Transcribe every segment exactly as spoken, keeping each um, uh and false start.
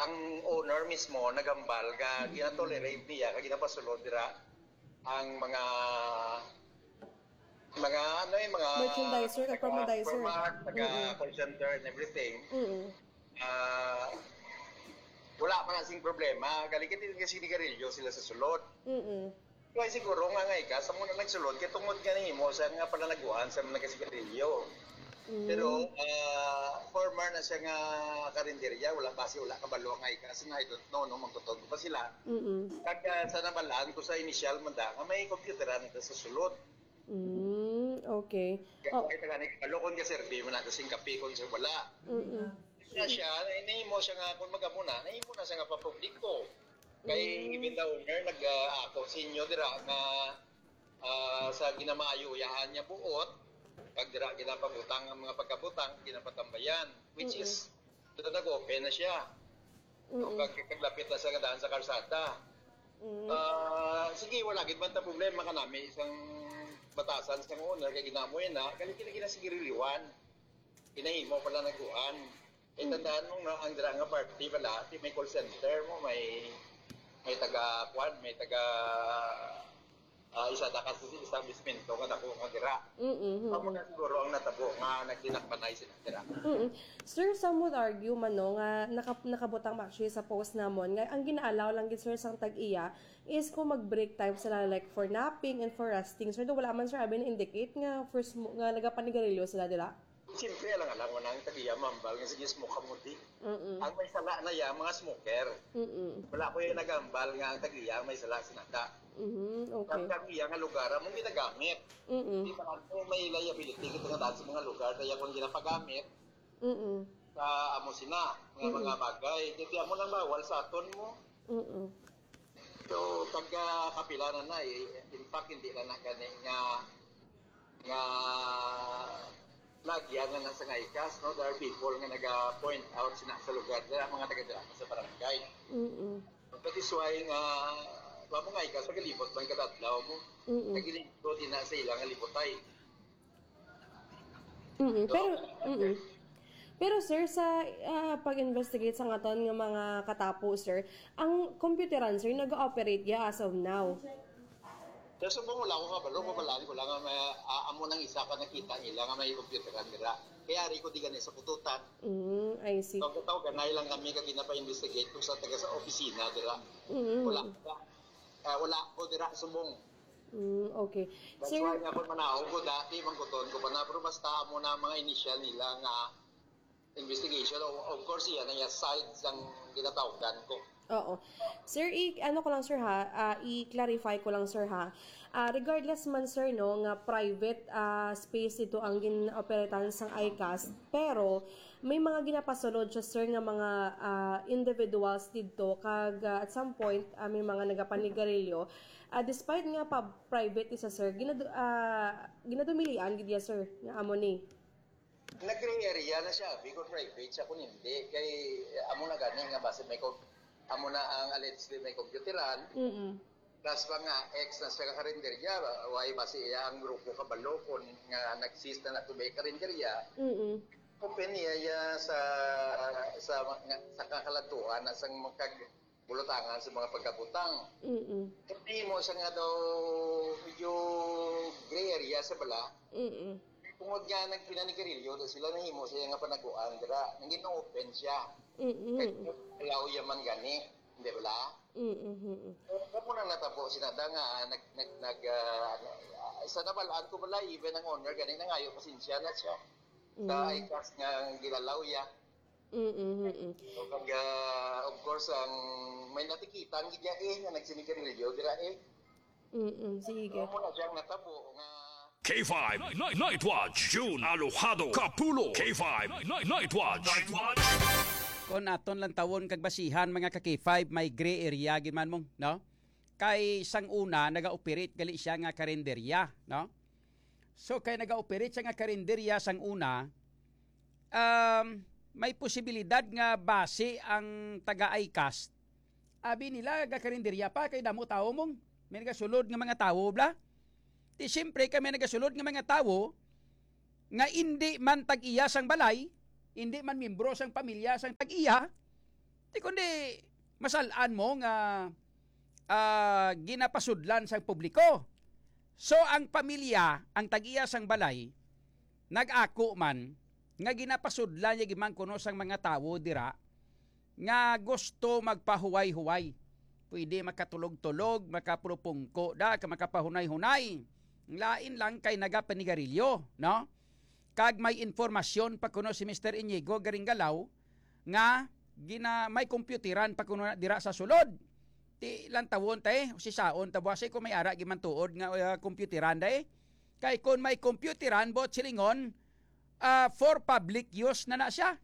Ang owner mismo naghambal nga ginatolerate niya, nga ginapasulod dira ang mga, mga, ano, yung mga Merchandiser, taga-, taga-promendizer. Format, taga Mm-mm. call center and everything. Mm-mm. Ah, wala pa na sing problema. Galing kasi nagsigarilyo sila sa sulod. Mm-mm. Kaya siguro nga nga ika, sa muna nagsulod, kaya tungod nga nimo sa nga palanaguan sa mga nagsigarilyo. Mm. Pero, ah, former na siya nga karinderya, wala pa siya, wala kabalo nga ika, kasi nga I don't know, no, magtutog pa sila. Mm-mm. Kag, ah, sa nabalaan ko sa initial man da, nga may computeran na sa sulod. Mm, okay. Kaya Oh. kung ito nga, nagkalo kung kaserbi mo na, kasi kape kung sa wala. Mm-mm. Kaya siya, nahimo siya nga, kung magamo na, nahimo na siya nga papubliko. Kay Mm. even the owner, nag, ah, ako sa inyo dira nga, ah, sa ginamaayo-yahan niya buot, pag dira ginapabutang ang mga pagkabutang, ginapatambayan, which Mm-mm. is, ito nag-open na siya. Mm-mm. Pag, paglapit na sa daan sa karsada. Mm. Ah, sige, wala gid man ta problema kanami isang batasan sa owner kay ginamoy na, kali kini kina sige riliwan. Kinahimo pala naguan. Eh, Mm. tandaan mo nga ang dira nga party pala, di may call center mo, may, may taga, kwan, may taga, ah, isa ta kasi establishmento nga dako nga dira. Mm-mm. Amo na siguro ang natabo nga nagdinakpanay sila dira. Mm-mm. Sir, some would argue man, no, nga naka-, nakabutang ba actually sa post namon nga ang gina-allow lang gid, sir, sang tag-iya is kung mag-break time sila, like, for napping and for resting. Sir, do wala man, sir, abi na-indicate nga first mo, nga nagapanigarilyo sila dira? Siyempre, alang-alang mo na ang tag-iya mambal nga sige, smoke ka mo di. Mm-mm. Ang may sala na iya, mga smoker. Mm-mm. Wala ko yung nagambal nga ang tag-iya ang may sala sinada. Mm, okay. Ang tag-iya nga lugar, among ginagamit. Mm-mm. Di ba, kung may liability kita nga daan sa mga lugar, kaya kung ginapagamit, Mm-mm. sa amo sina, nga Mm-mm. mga bagay. Kaya amo lang bawal sa aton mo. Mm-mm. So, taga kapila na na eh. In fact, hindi na na gani nga, nga nagyan na na sa ngaikas, no? There are people nga naga-point out sina sa lugar, there are mga taga dira sa barangay. Mm-mm. That is why nga, wa mo ngaikas, pagalibot man kada adlaw mo. Mm-mm. Nagilibot din na sa ilang libotay. Mm-mm. Pero, mm-mm. Pero, sir, sa, ah, pag-investigate sa ngaton nga mga katapo, sir, ang computeran, sir, nag-ooperate ya as of now? Sa subong, wala ko kabalo, mabalaan ko lang nga may, ah, amo nang isa ka nakita nila nga may computeran dira. Kaya ari ko di gani sa kututan. Mm, I see. Pagkataw, ganay lang kami kag ginapa-investigate kung sa taga sa opisina dira. Mm. Wala, ah, wala ko dira subong. Mm, okay. That's Sir, why nga kung manaog ko dati, mangkuton ko pa na, pero basta amo na mga initial nila nga investigation, o-, of course, yan ang side sang ginatawgan ko. Oo. Sir, i-, ano ko lang, sir, ha? Ah, i-clarify ko lang, sir, ha? Ah, regardless man, sir, no, nga private, ah, space ito ang gin-operetan sang ICAST, pero may mga ginapasulod siya, sir, nga mga, ah, individuals didto, kag, ah, at some point, ah, may mga nagapanigarilyo. Ah, despite nga pa private isa, sir, ginadu-, ah, ginadumilian gid ya, sir, nga amo ni. Nag-gray area na siya, big or private siya kung hindi. Kay, eh, amo na gani nga base may com-, amo na ang allegedly may computeran. Mm-mm. Plus pa nga, ex na siya ka karinderya, why base iya ang grupo kabalo kung nga nag-cease na nato may karinderya. Mm-mm. Open niya, ya sa, sa, nga, sa kakaladtuan na sang makag-, bulutangan sa mga pagkabutang. Mm-mm. Hindi mo siya nga daw medyo gray area sa bala. Mm-mm. Tungod nga nagpinanigarilyo na sila, nahimo siya nga panaguan dira. Nangin open siya. Mm-mm. Kaya allow yaman gani, di ba? Mm-mm. Kaya po na natabo si Nada nga, nag, nag, nag, ah, ano, ah, sa nabalaan ko pala, even ang owner gani, nangayo pasensya na siya. Sa Mm. ICAST nga gilalaw ya. Mm-mm, mm-mm. So, pag, ah, of course, ang may natikitan gid ya eh, nga nagsinigarilyo dira eh. Mm-mm, sige. Amo na siyang natabo nga K five Night, Night Watch, June Alojado Kapulo. K five Night, Night Watch. Kon aton lang tawon kag basihan, mga ka K five, may gray area gid man mo, no? Kay sang una, naga-operate gali siya nga karinderya, no? So, kay naga-operate siya nga karinderya sang una, um, may posibilidad nga basi ang taga-ICAST. Abi nila, gakarinderya pa, kay damo tawo mong, may nagasulod nga mga tawo, bla? Di siyempre, kay may nagasulod nga mga tawo, nga indi man tag-iya sang balay, indi man miyembro sang pamilya sang tag-iya, Di kundi masal-an mo nga, ah, ginapasudlan sang publiko. So, ang pamilya, ang tag-iya sang balay, nag-ako man nga ginapasudlan niya gid man kuno sang mga tawo dira nga gusto magpahuway-huway. Pwede makatulog-tulog, makapulupungko da, ka makapahunay-hunay. Ang lain lang kay nagapanigarilyo, no? Kag may impormasyon pa kuno si Mister Inigo Garinggalaw nga gina-, may kompyuteran pa kuno na dira sa sulod. Ti lantawon ta, eh, sisaon ta, buwas, eh, kung may ara gimantuod nga, uh, kompyuteran, day. Kay kung may kompyuteran, buot silingon, ah, for public use na na siya.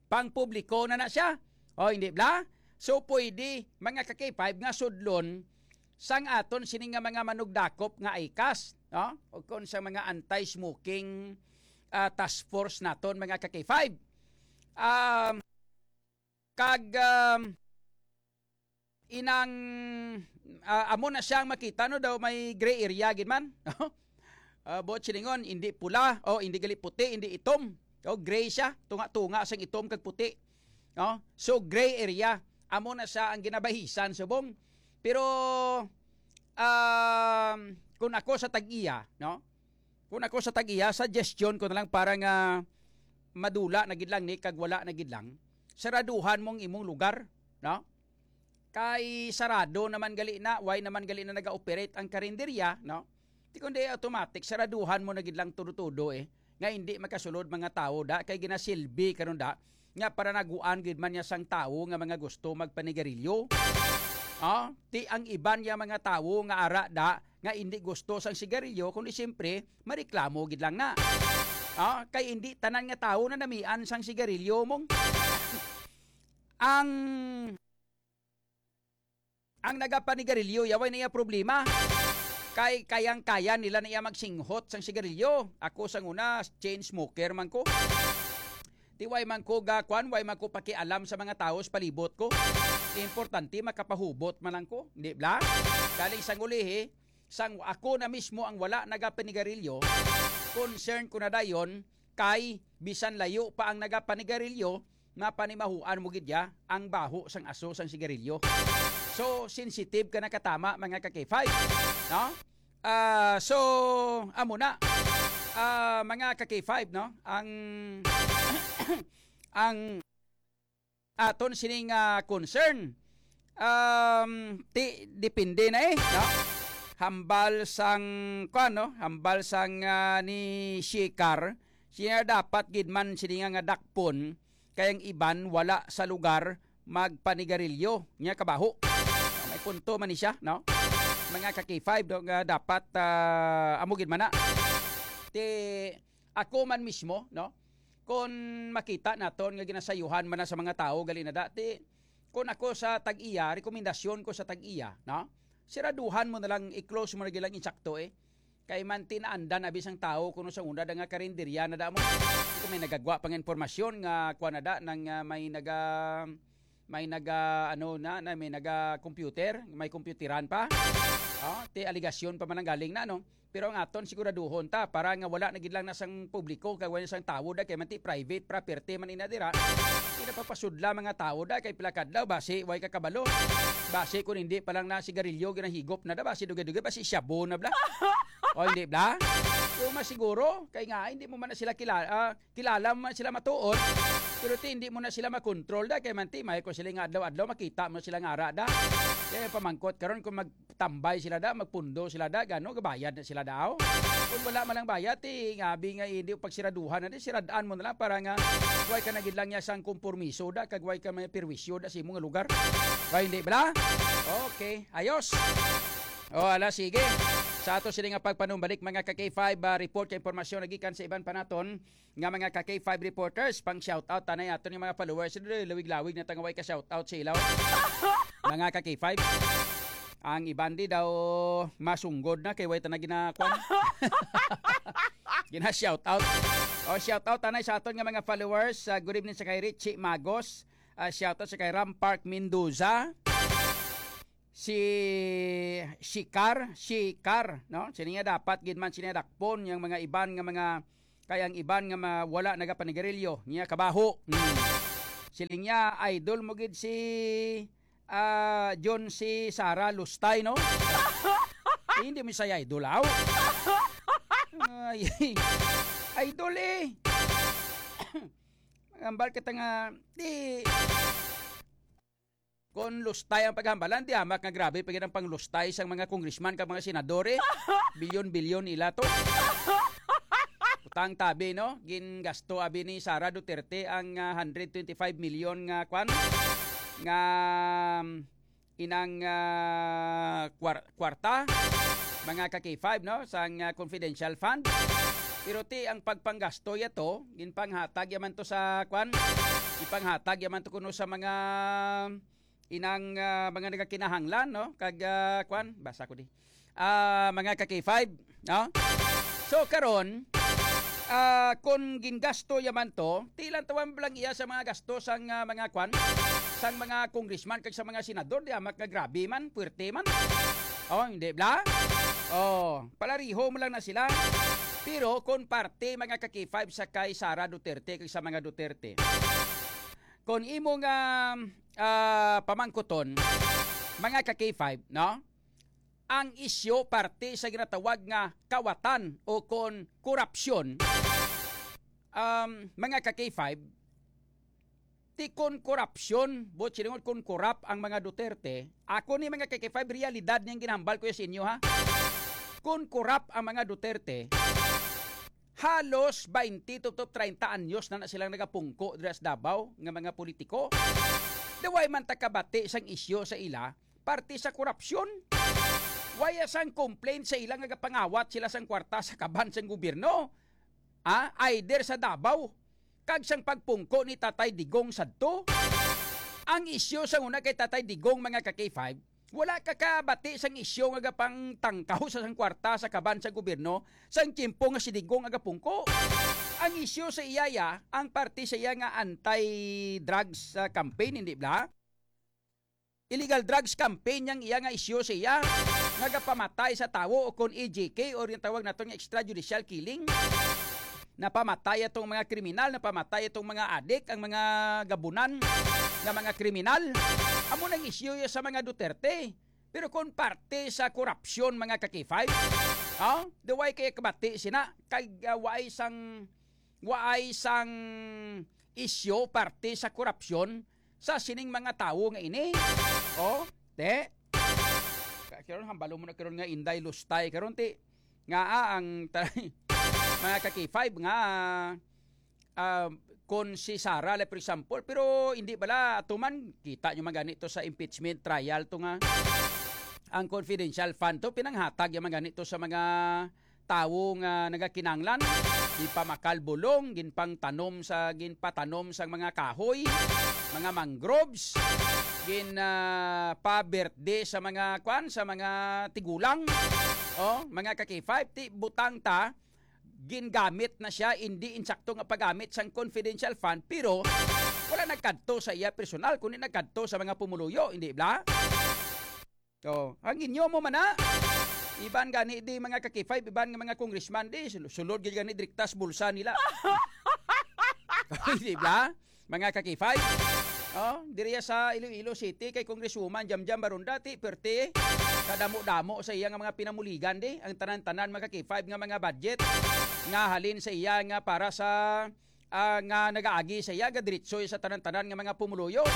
Pang publiko na na siya. O, hindi bla? So, pwede, mga ka-K five, nga sudlon sang aton sini nga mga manugdakop nga ICAS, no? O kung sa mga anti-smoking, ah, task force naton, mga ka-K five. Um, kag, um, inang, ah, amo na siya ang makita, no, daw may gray area gid man, no? Ah, buot silingon, hindi pula, o hindi gali puti, hindi itom. O, gray siya, tunga-tunga sang itom kag puti. No? So, gray area. Amo na siya ang ginabahisan subong. Pero, um, kung ako sa tag-iya, no? Kung ako sa tag-iya, suggestion ko na lang para nga madula na gid lang ni kag wala na gid lang. Saraduhan mong imong lugar, no? Kay sarado naman gali na, why naman gali na naga-operate ang karinderya, no? Di kundi automatic, saraduhan mo na gid lang tudo-tudo, eh. Nga hindi makasulod mga tawo da, kay ginasilbi karon da, nga para naguan gid man niya sang tawo nga mga gusto magpanigarilyo. Ah, ti ang iban niya mga tawo nga ara da, nga hindi gusto sang sigarilyo, kundi siyempre, mareklamo gid lang na. Ah, kay hindi tanan nga tawo na namian sang sigarilyo mong ang Ang nagapanigarilyo, yaway na iya problema. Kay kayang-kaya nila na iya magsinghot sang sigarilyo. Ako sang una, chain smoker man ko. Ti way man ko ga, kwan, way man ko pakialam sa mga tawo sa palibot ko. Importante, makapahubot man lang ko. Di bla? Galing sang ulihi, sang ako na mismo ang wala nagapanigarilyo, concern ko na dayon kay bisan layo pa ang nagapanigarilyo, mapanimahuan mo gid ya ang baho sang aso sang sigarilyo. So, sensitive ka na katama, mga ka-K five, no? Ah, so, amo na. Ah, mga ka-K five, no? Ang, ang aton sining, ah, concern. Um, ti, depende na eh, no? Hambal sang, kuwan, no? Hambal sang, ah, ni Shikar, siya dapat gid man sini nga, nga dakpon, kay ang iban wala sa lugar magpanigarilyo. Niya kabaho. May punto man ni siya, no? Mga ka-K five, no, nga dapat, ah, amo gid man na. Ti, ako man mismo, no? Kung makita naton nga ginasayuhan man na sa mga tawo, gali na da, ti, kung ako sa tag-iya, rekomendasyon ko sa tag-iya, no? Siraduhan mo na lang, i-close mo na gilang insakto, eh. Kay man tinaandan abi sang tawo kuno sa una da nga karinderya na da mo. Ito may nagagwa pang impormasyon nga kuha na da nang, ah, may naga, may naga, ano na, na may naga computer, may computeran pa. Oh, ti aligasyon pa man ang galing na, no? Pero ang aton siguraduhon ta para nga wala na gid lang na sang publiko kay wala sang tawo da kay man ti private property man ina dira. Ina papasudla mga tawo da kay pila kadlaw basi way ka kabalo. Basi kung hindi pa lang na sigarilyo ginahigop na da basi dugay-dugay basi shabu na bla. O hindi bla? Yung mas siguro kay nga hindi mo man na sila kilala, ah, kilala mo man sila matuod. Pero ti hindi mo na sila makontrol da kay man ti may ko sila nga adlaw-adlaw makita mo sila nga ara da. Kaya pamangkot karon kung mag tambay sila da, magpundo sila da, gano gabayad na sila daw. Kung wala man lang bayad, ti ngabi nga hindi pagsiraduhan na di, siradan mo na lang para nga way ka na gid lang niya sang kompromiso da, kag way ka may perwisyo da sa imong lugar. Way hindi bala? Okay, ayos. O, ala, sige. Sa ato sila nga pagpanumbalik, mga ka K five, ah, report kay impormasyon nagikan sa iban pa naton nga mga ka K five reporters, pang shoutout tanay aton nga mga followers. Lawig-lawig na tangaway ka shoutout sa ilaw. Mga ka K five. Ang iban di daw masunggod na kay way ta na ginakuan. Gina-shoutout. O, shoutout tanay sa aton nga mga followers. Ah, good evening sa kay Richie Magos. Ah, shoutout sa kay Ram Park Mendoza. Si Shikar, Shikar, no? Sini nga dapat gid man sini dakpon yang mga iban nga mga kay ang iban nga ma-, wala nagapanigarilyo, niya kabaho. Hmm. Siling niya, idol mo gid si, ah, John, si Sara Lustay, no? Eh, hindi mo siya idol, aw. Ay, idol eh. Hambal kita nga, di, kon lustay ang paghambalan, di hamak nga grabe pa gid ang panglustay sang mga congressman kag mga senador, eh. Bilyon-bilyon ila to. Utang tabi, no? Gingasto abi ni Sara Duterte ang, ah, hundred twenty-five million nga kwan, nga, um, inang, ah, kwar-, kwarta, mga ka K five, no? Sang, ah, confidential fund. Pero ti ang pagpanggasto ya to, ginpanghatag ya man to sa kwan, ginpanghatag ya man to kuno sa mga inang, ah, mga nagakinahanglan, no? Kag, ah, kwan, basa ko di. Ah, mga ka K five, no? So, karon, ah, kung gingasto ya man to, ti ilan tawon lang iya sa mga gasto sang, ah, mga kwan, sang mga congressman kag sa mga senador, di hamak nga grabe man, puwerte man. Oh, hindi bla? Oh, palariho mo lang na sila. Pero kung parte, mga ka K five, sa kay Sara Duterte kag sa mga Duterte, kung imo nga, ah, pamangkuton, mga ka K five, no? Ang isyu parte sa ginatawag nga kawatan o kon korupsyon, um, mga ka K five, ti kon korupsyon, buot silingon kon korap ang mga Duterte, ako ni mga ka K five, realidad niyang ginahambal ko sa inyo, ha? Kon korap ang mga Duterte, halos twenty to, to treinta anyos na na silang nagapungko dira sa Davao nga mga politiko. Daway man ta kabati sang isyu sa ila, parte sa korupsyon. Wala sang complaint sa ila nga gapangawat sila sang kwarta sa kaban sang gobyerno. Ah, either sa Davao, kag sang pagpungko ni Tatay Digong sadto. Ang isyu sa una kay Tatay Digong, mga ka K five, wala ka kabati sang isyu nga gapangtangkaw sa sang kwarta sa kaban sa gobyerno sang tiyempo nga si Digong agapungko. Ang isyu sa iya ya, ang parte sa iya nga anti-drugs, ah, campaign, hindi bla? Illegal drugs campaign yang iya nga isyu sa iya, nga gapamatay sa tawo o kon E J K or yung tawag nato nga extrajudicial killing. Napamatay atong mga kriminal, napamatay atong mga adik, ang mga gabunan nga mga kriminal. Amo nang isyu ya sa mga Duterte. Pero kung parte sa korupsyon, mga ka K five, oh, the why kaya kabati sina? Kay, ah, waay sang, waay sang isyu parte sa korupsyon sa sining mga tawo nga ini. Oh, te. Ka-, karon hambalo mo na karon nga Inday Lustay. Karon ti, nga, ah, ang ta-, mga ka K five nga, ah, kon si Sara, like, for example, pero hindi bala, ato man, kita nyo man gani to sa impeachment trial to nga ang confidential fund to, pinanghatag yung man gani to sa mga tawo nga nagakinanglan, ginpamakal bulong, ginpangtanom sa, ginpatanom sa mga kahoy, mga mangroves, gin, ah, pa-birthday sa mga, kwan, sa mga tigulang. Oh, mga ka K five, ti, butang ta, gingamit na siya, hindi insakto nga paggamit sang confidential fund, pero wala nagkadto sa iya personal, kundi nagkadto sa mga pumuluyo, hindi bla? Oh, ang inyo mo man na. Iban gani di mga ka K five, iban nga mga congressman di, sul-, sulod gid gani direkta sa bulsa nila. Di ba? Mga ka K five. Oh, diriya sa Iloilo City kay Congresswoman Jamjam Baronda, ti, perti, kadamo-damo sa iya nga mga pinamuligan di, ang tanan-tanan mga ka K five nga mga budget nga halin sa iya nga para sa, ah, nga nagaagi sa iya, gadiretso sa tanan-tanan nga mga pumuluyo.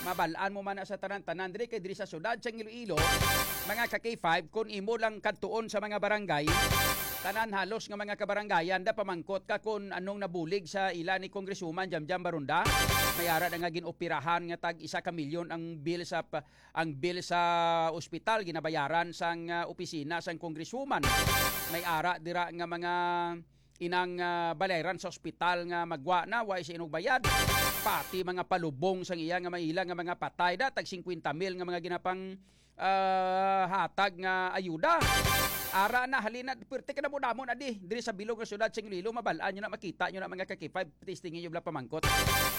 Mabal-an mo man na sa tanan-tanan diri kay diri sa syudad sa Iloilo, mga ka K five, kung imo lang kadtuon sa mga barangay, tanan halos nga mga kabarangayan da pamangkot ka kung anong nabulig sa ila ni Congresswoman Jamjam Baronda. May ara na nga ginoperahan nga tag isa ka milyon ang bill sa pa-, ang bill sa ospital ginabayaran sang, ah, opisina sang Congresswoman. May ara dira nga mga inang, ah, balayran sa ospital nga magwa na, wa siya inugbayad. Pati mga palubong sang iya nga maila nga mga patay da, tag singkwenta mil nga mga ginapang, ah, hatag nga ayuda. Ara na, halina, pirti ka na mo damo na di, diri sa bilog nga syudad sa Iloilo, mabal-an nyo na, makita nyo na mga ka K five, testingin nyo bala pamangkot.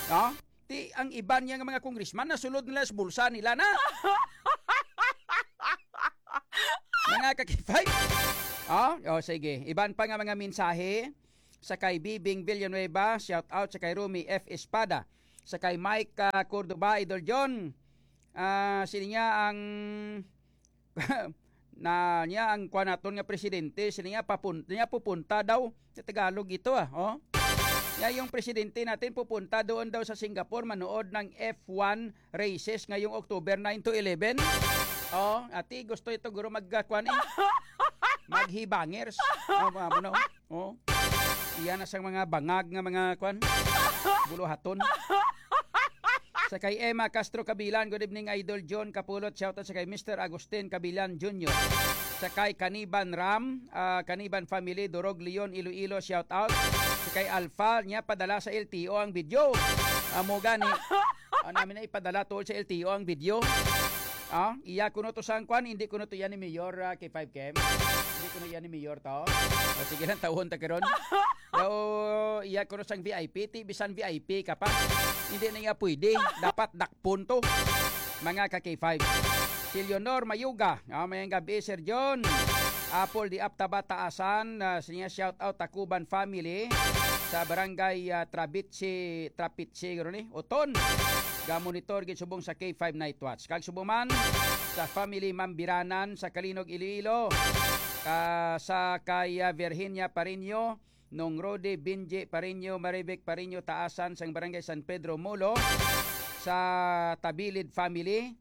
No? Ti, ang iban niya nga mga congressman, nasulod nila sa bulsa nila na. Mga ka K five. Oh, oh, sige. Iban pa nga mga mensahe sa kay Bibing Villanueva, shout out sa kay Romy F Espada. Sa kay Mike, ah, Cordoba, Idol John. Ah, sini niya ang na niya ang kuan naton nga presidente, sini niya papun-, niya pupunta daw sa Tagalog ito, ah, oh. Ya, yung presidente natin pupunta doon daw sa Singapore manood ng F one races ngayong October nine to eleven. Oh, ati gusto ito guro mag, ah, kuan eh. Maghibangers. Oh, mga ano, oh. Iya na sang mga bangag nga mga kuan. Buluhaton. Sa kay Emma Castro Kabilan, good evening, Idol John Kapulot. Shout out sa kay Mister Agustin Kabilan Junior. Sa kay Kaniban Ram, ah, Kaniban family, Durog Leon, Iloilo, shout out. Sa kay Alpha, niya padala sa L T O ang video. Amo gani. Ano namin na ipadala tol sa L T O ang video? Ah, iya kuno to sang kwan, hindi kuno to yan ni Mayor, ah, K five K M. Hindi kuno yan ni Mayor to. O, sige lang, tawon ta karon. Daw, iya kuno sang V I P, ti bisan V I P ka pa. Hindi na nga pwede. Dapat dakpon to. Mga ka K five. Si Leonor Mayuga, ah, mayang gabi, Sir John. Apple di Aptaba Taasan, ah, siya shout out Takuban family sa barangay, ah, Trabitsi, Trapitsi, guro ni, Oton. Ga-monitor gid subong sa K five Night Watch. Kag subong man sa family Mambiranan sa Kalinog, Iloilo. Ah, sa kay, ah, Virginia Pareño, Nong Rode, Binji Pareño, Marivic Pareño, Taasan sang Barangay San Pedro, Molo, sa Tabilid family,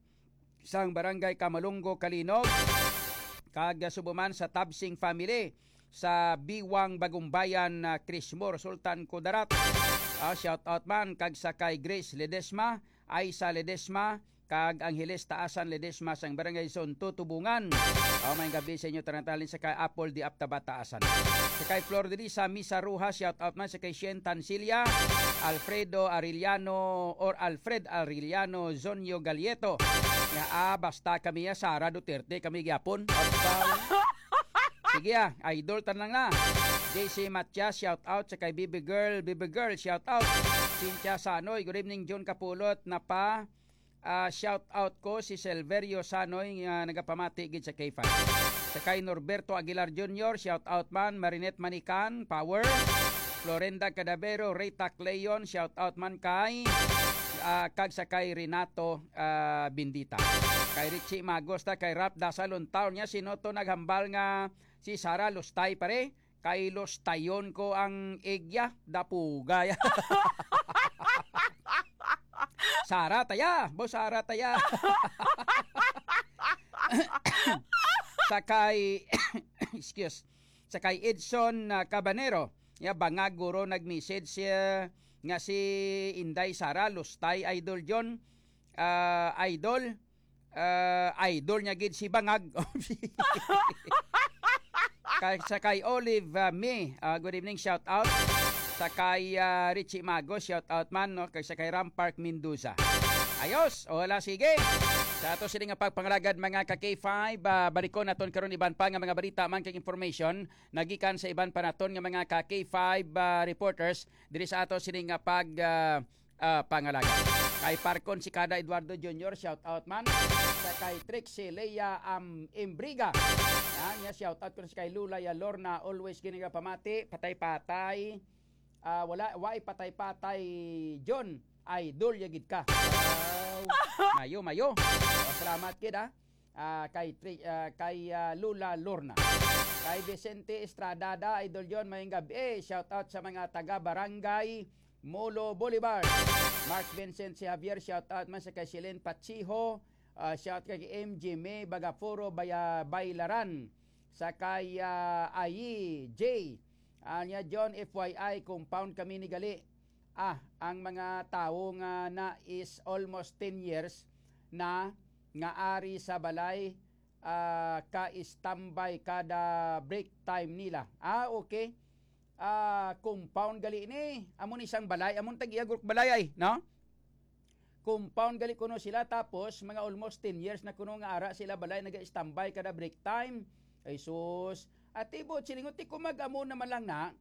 sang Barangay Kamalungo, Kalinog, kag subong man sa Tabsing family sa Biwang, Bagumbayan, ah, Crismore, Sultan Kudarat. Ah, shout out man kag sa kay Grace Ledesma, Aisa Ledesma, kag Angeles Taasan Ledesma sang Barangay Sonto, Tubungan. Oh, may gabi sa inyo, tanan talin sa kay Apple di Aptaba Taasan. Sa kay Flor Delisa Misa Rojas, shout out man sa kay Shen Tansilla, Alfredo Arellano or Alfred Arellano Zonyo Galieto. Nga, ah, basta kami, ah, Sara Duterte kami gyapon. Abaw. Sige, ah, idol tanan na. J C Matias, shout out sa kay Baby Girl, Baby Girl, shout out. Cynthia Sanoy, good evening, John Kapulot, na pa, ah, shout out ko si Silverio Sanoy nga nagapamati gid sa K five. Sa kay Norberto Aguilar Junior, shout out man, Marinette Manican, Power. Florenda Cadavero, Rita Cleon, shout out man kay, ah, kag sa kay Renato, ah, Bendita. Kay Richie Magos ta, kay Rap Dasalon Town niya, sino to naghambal nga si Sara Lustay, pare? Kay lustayon ko ang igya, dapugay. Sara taya, bo Sara taya. Sa kay, excuse, sa kay Edson, ah, Cabanero, ya bangag guro nag-message siya nga si Inday Sara Lustay, Idol John, ah, Idol, ah, idol niya gid si Bangag. Kay, sa kay Olive, ah, May, ah, good evening, shout out. Sa kay, ah, Richie Mago, shout out man, no? Kay sa kay Ram Park Mendoza. Ayos, wala, sige. Sa ato sini nga pagpangalagad, mga ka K five, ah, balikon naton karon iban pa nga mga balita man kag information nagikan sa iban pa naton nga mga ka K five, ah, reporters diri sa ato sini nga pag, ah, ah, pangalagad. Kay Parkon si Kada Eduardo Junior, shout out man. Sa kay Trixie Lea, um, Imbriga. Yan, niya shout out ko sa kay Lula ya Lorna, always ginagapamati, patay-patay. Ah, wala, why patay-patay, John? Idol ya gid ka. Wow. Mayo, mayo. Oh, salamat gid, ah. Ah, kay Tri-, ah, kay, ah, Lula Lorna. Kay Vicente Estrada da, Idol John, mayong gabi. Shout out sa mga taga Barangay Molo Boulevard. Mark Vincent si Javier, shout out man sa kay Shilin Pachiho. Ah, shout kay M G May Bagaforo Baya-, Bailaran. Sa kay, ah, Ayi J. Ah, niya, John, F Y I, compound kami ni gali. Ah, ang mga tawo nga na is almost ten years na nga ari sa balay, ah, ka-standby kada break time nila. Ah, okay. Ah, compound gali ni. Amo ni isang balay, amo ni tag-iya guruk balay ay, no? Compound gali kuno sila, tapos mga almost ten years na kuno nga ara sila balay naga-standby kada break time. Ay sus. Ati bo, silingot ti ko mag-amo naman lang na,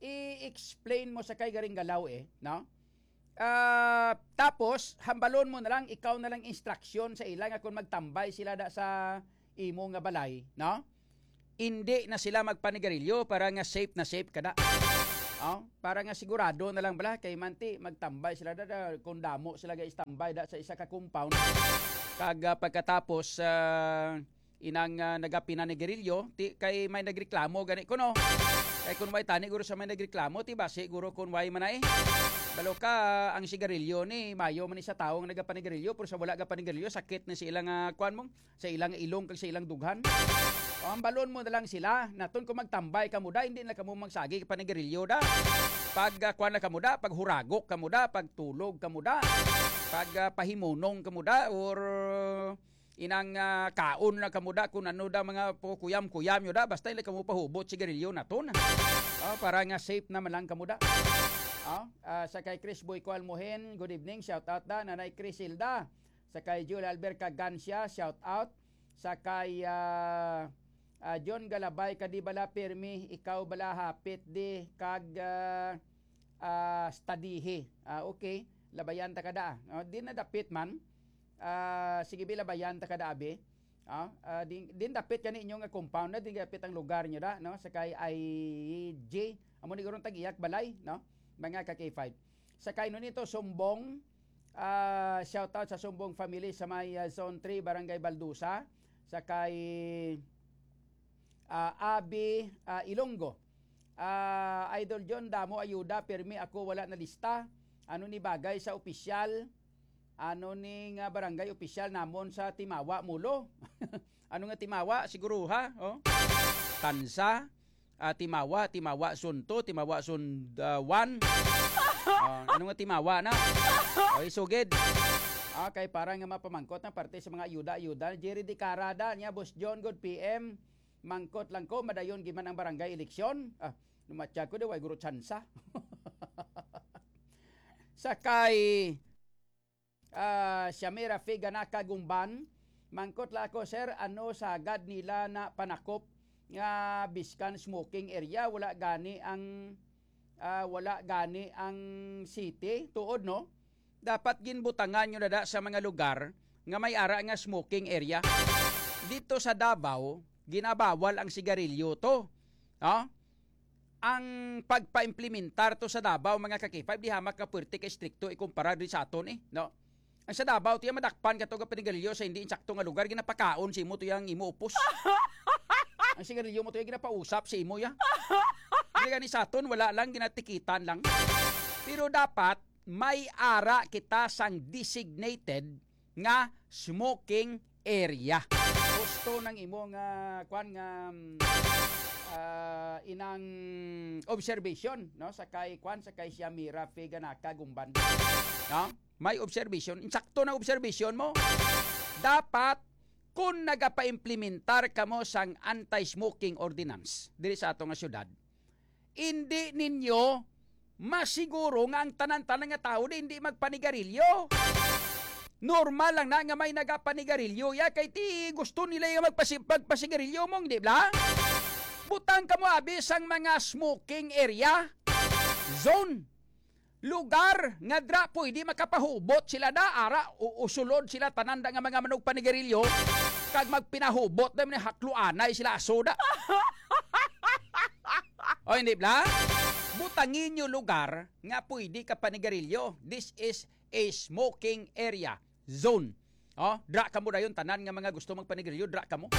i-explain mo sa kay garing galaw eh, no? Ah, tapos, hambalon mo na lang, ikaw na lang instruction sa ila nga kung magtambay sila da sa imo nga balay, no? Hindi na sila magpanigarilyo para nga safe na safe ka da. Oh, para nga sigurado na lang bala kay manti magtambay sila da, da kung damo sila ga-istambay da sa isa ka compound. Kag, ah, pagkatapos, ah, inang, ah, nagapinanigarilyo, ti kay may nagreklamo gani kuno. Kay kun way tani guro sa may nagreklamo, ti ba siguro kun way man ay. Balo ka, ang sigarilyo ni mayo man ni sa tawo nga nagapanigarilyo, pero sa wala gapanigarilyo, sakit na sa ilang, ah, kuan mo, sa ilang ilong kag sa ilang dughan. O, ang balon mo na lang sila, naton kung magtambay kamo da, hindi na kamo magsagi panigarilyo da. Pag, ah, kuan na kamo da, pag huragok kamo da, pag tulog kamo da, pag, ah, pahimunong kamo da, or inang, ah, kaon na kamo da, kung ano da mga pu-, kuyam-kuyam nyo da, basta hindi kamo pahubot sigarilyo naton. Ah, para nga safe naman lang kamo da. Ah, ah, sa kay Chris Boy Kualmohen, good evening, shout out da, Nanay Crisilda. Sa kay Jul Albert Cagancia, shout out. Sa kay, ah, ah, John Galabay, kadi bala pirmi, ikaw bala hapit di kag, ah, ah, studihi. Ah, okay, labayan ta kada. Oh, di na dapit man. Ah, sige bi, labayan ta kada abi. Ah, ah, din, din dapit kani inyo nga compound na, din dapit ang lugar nyo da, no? Sa kay I G, amo ni gurong tag-iyak balay, no? Mga ka K five. Sa kay Nonito Sumbong, ah, shout out sa Sumbong family sa may, ah, Zone three, Barangay Baldusa. Sa kay, ah, Abi, ah, Ilonggo. Ah, Idol John, damo ayuda, pirmi ako wala na lista. Ano ni bagay sa opisyal? Ano ni nga barangay opisyal namon sa Timawa, Mulo? Ano nga Timawa? Siguro ha? Oh. Tansa, ah, Timawa, Timawa Zone two, Timawa Zone, ah, one. Ah, ano nga Timawa na? Oy, sugid. Ah, kay para nga mapamangkot na parte sa mga ayuda-ayuda. Jerry Dicarada niya, Boss John, good P M. Mangkot lang ko, madayon giman ang barangay eleksyon. Ah, numatya ko, di, way guro tsansa. Sa kay, ah, Shamira Figanaka Gumban, mangkot la ako, sir, ano sagad nila na panakop nga biskan smoking area, wala gani ang, ah, wala gani ang city? Tuod, no? Dapat ginbutangan nyo na da sa mga lugar nga may ara nga smoking area. Dito sa Davao, ginabawal ang sigarilyo to. No? Ang pagpaimplementar to sa Davao, mga ka-K five, di hamak ka puwerte ka estrikto ikumpara diri sa aton, eh, no? Ang sa Davao, tiya madakpan ka to ka panigarilyo sa hindi insakto nga lugar, ginapakaon sa imo to yang imo upos. Ang sigarilyo mo to yung ginapausap sa imo ya. Hindi gani sa aton, wala lang, ginatikitan lang. Pero dapat, may ara kita sang designated nga smoking area. Gusto ng imo nga, kwan nga, mm, ah, inang observation, no? Sa kay, kwan, sa kay Shamira Figanaka Gumban. No? May observation. Insakto na observation mo. Dapat, kung nagapaimplementar kamo sang anti-smoking ordinance diri sa ato nga syudad, hindi ninyo masiguro nga ang tanan-tanan nga tawo di hindi magpanigarilyo. Normal lang na nga may nagapanigarilyo ya, kay ti gusto nila yung magpasi-, magpasigarilyo mong, di ba? Butang kamo abi sang mga smoking area, zone, lugar nga dra pwede makapahubot sila da, ara, u-, usulod sila tanan da nga mga manugpanigarilyo, kag magpinahubot na man hakluanay sila aso da. O, hindi bla? Butangin nyo lugar nga pwede ka panigarilyo. This is a smoking area zone. Oh, dra kamo dayon tanan nga mga gusto magpanigarilyo, dra kamo.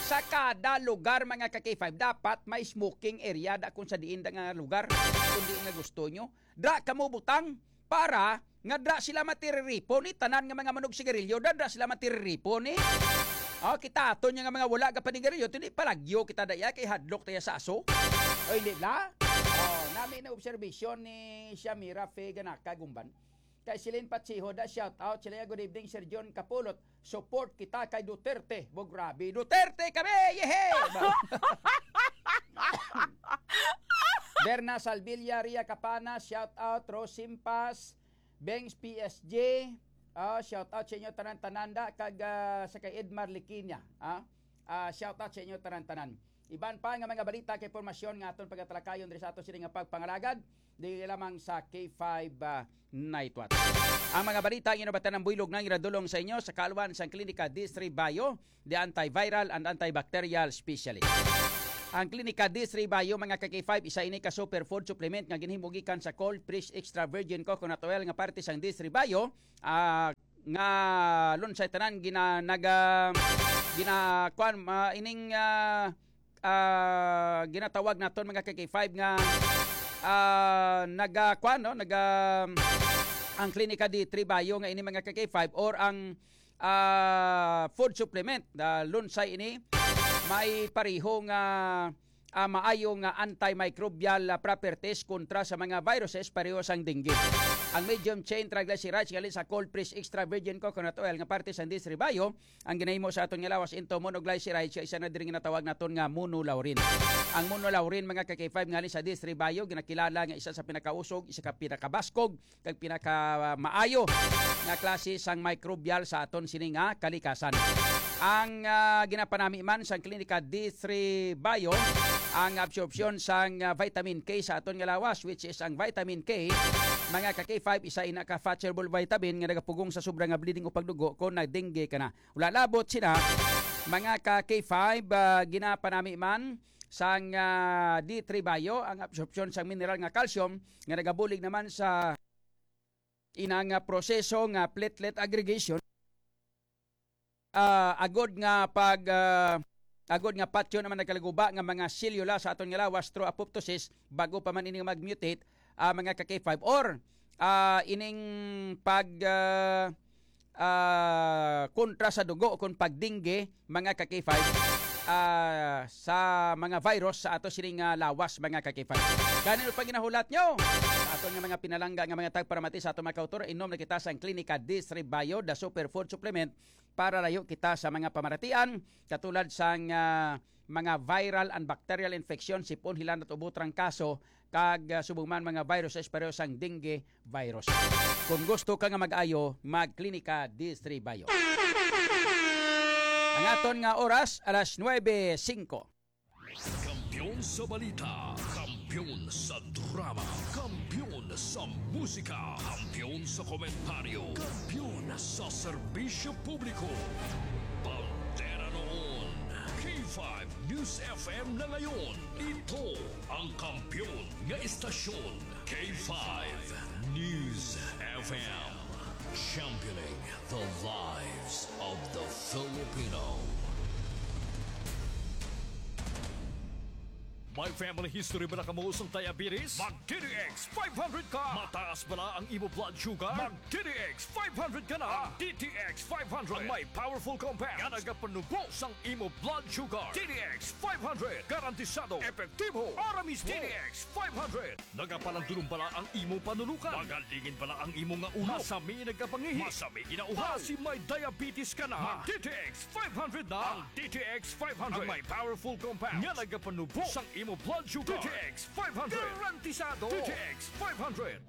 Sa kada lugar, mga ka-K five, dapat may smoking area da kung sa diin da nga lugar, kung diin nga gusto nyo. Dra kamo butang para nga dra sila matiriripo ni tanan nga mga manugsigarilyo, da, dra sila matiriripo ni. Oh, kita ato niya nga mga wala ka panigarilyo, hindi palagyo kita daya kay hadlok tayo sa aso. O, hindi bla? Oh, nami na obserbasyon ni Shamira Fe Ganaka Gumban. Kay Celine Patsiho, da, shout out. Sila, good evening, Sir John Kapulot. Support kita kay Duterte. Bo, grabe. Duterte kami! Yehe! Berna Salvilla, Ria Capana, shout out. Rose Simpas, Bengs P S G, ah, shout out sa inyo tanan-tanan da, kag, ah, sa kay Edmar Liquinia, ah. Ah, shout out sa inyo tanan-tanan. Iban pa nga mga balita kay impormasyon nga aton pagatalakayon diri sa ato sini nga pagpangalagad, di lamang sa K five, ah, Night Watch. Ang mga balita nga nabatan ng buylog na iradulong sa inyo sa kaalwan sang Klinika Distri Bayo, the antiviral and antibacterial specialist. Ang Klinika D three Bio, mga ka-K five, isa ini ka superfood supplement nga ginhimo gikan sa cold press extra virgin coconut oil nga parte sang D three Bio, ah, nga lunsay tanan gina-, naga-, gina-, kuan, ah, ining, ah, ah, ginatawag naton, mga ka-K five, nga, ah, naga-, kuan, no? Naga-, ang Klinika D three Bio nga ini, mga ka-K five, or ang ah, food supplement. Ah, lunsay ini may pareho nga, ah, maayo nga antimicrobial, ah, properties kontra sa mga viruses pareho sang dengue. Ang medium chain triglycerides nga sa cold press extra virgin coconut oil nga parte sa D three Bio ang ginahimo sa aton nga lawas into monoglycerides, sa isa na diri nga natawag naton nga monolaurin. Ang monolaurin, mga ka-K five, nga sa D three Bio, ginakilala nga isa sa pinakausog, isa ka pinakabaskog kag pinakamaayo nga klase sang microbial sa aton sini nga kalikasan. Ang, ah, ginapanami man sang Klinika D three Bio ang absorpsyon sang, ah, vitamin K sa aton nga lawas, which is ang vitamin K, mga ka-K five, isa ina ka fat soluble vitamin nga nagapugong sa sobra nga bleeding o pagdugo kon nagdengue ka na. Wala labot sina, mga ka-K five, ah, ginapanami man sang, ah, D three Bio ang absorpsyon sang mineral nga calcium nga nagabulig naman sa inang, ah, proseso nga platelet aggregation, ah, agod nga pag, ah, agod nga patyon naman nagkalaguba nga mga selula sa aton nga lawas through apoptosis bago pa man ini mag-mutate, ah, mga ka-K five, or, ah, ining pag, ah, ah, kontra sa dugo kon pagdengue, mga ka-K five, ah, sa mga virus sa ato sining, ah, lawas, mga ka-K five. Gani pa ginahulat nyo sa aton nga mga pinalangga nga mga tagparamati sa aton mga kautor, inom na kita sang Klinika D three Bio, the superfood supplement, para layo kita sa mga pamaratian katulad sang, ah, mga viral and bacterial infection, sipon, hilanat, ubo, trangkaso, kag, ah, subong man mga viruses pareho sang dengue virus. Kung gusto ka nga mag-ayo, magklinika D three Bio. Ang aton nga oras, alas nuebe singko. Kampiyon sa balita, kampiyon sa drama, kampiyon sa musika, kampiyon sa komentaryo, kampiyon sa serbisyo publiko. Bandera noon, K five News F M na ngayon. Ito ang kampiyon nga istasyon, K five News F M. Championing the lives of the Filipino. May family history ba na kamo sang diabetes? Mag D T X five hundred ka. Mataas bala ang imo blood sugar? Mag D T X five hundred ka na. Ang D T X five hundred ang may powerful compound nga nagapanubo sang imo blood sugar. D T X five hundred, garantisado, epektibo, para mismo. D T X five hundred. Nagapalandulong bala ang imo panunukan? Magalingin bala ang imo nga ulo? Masami nagapangihi? Masami ginauhaw? Basi may diabetes ka na? Mag D T X five hundred na. Ang D T X five hundred ang may powerful compound nga nagapanubo sang imo blood sugar. D T X five hundred. Garantisado. D T X five hundred.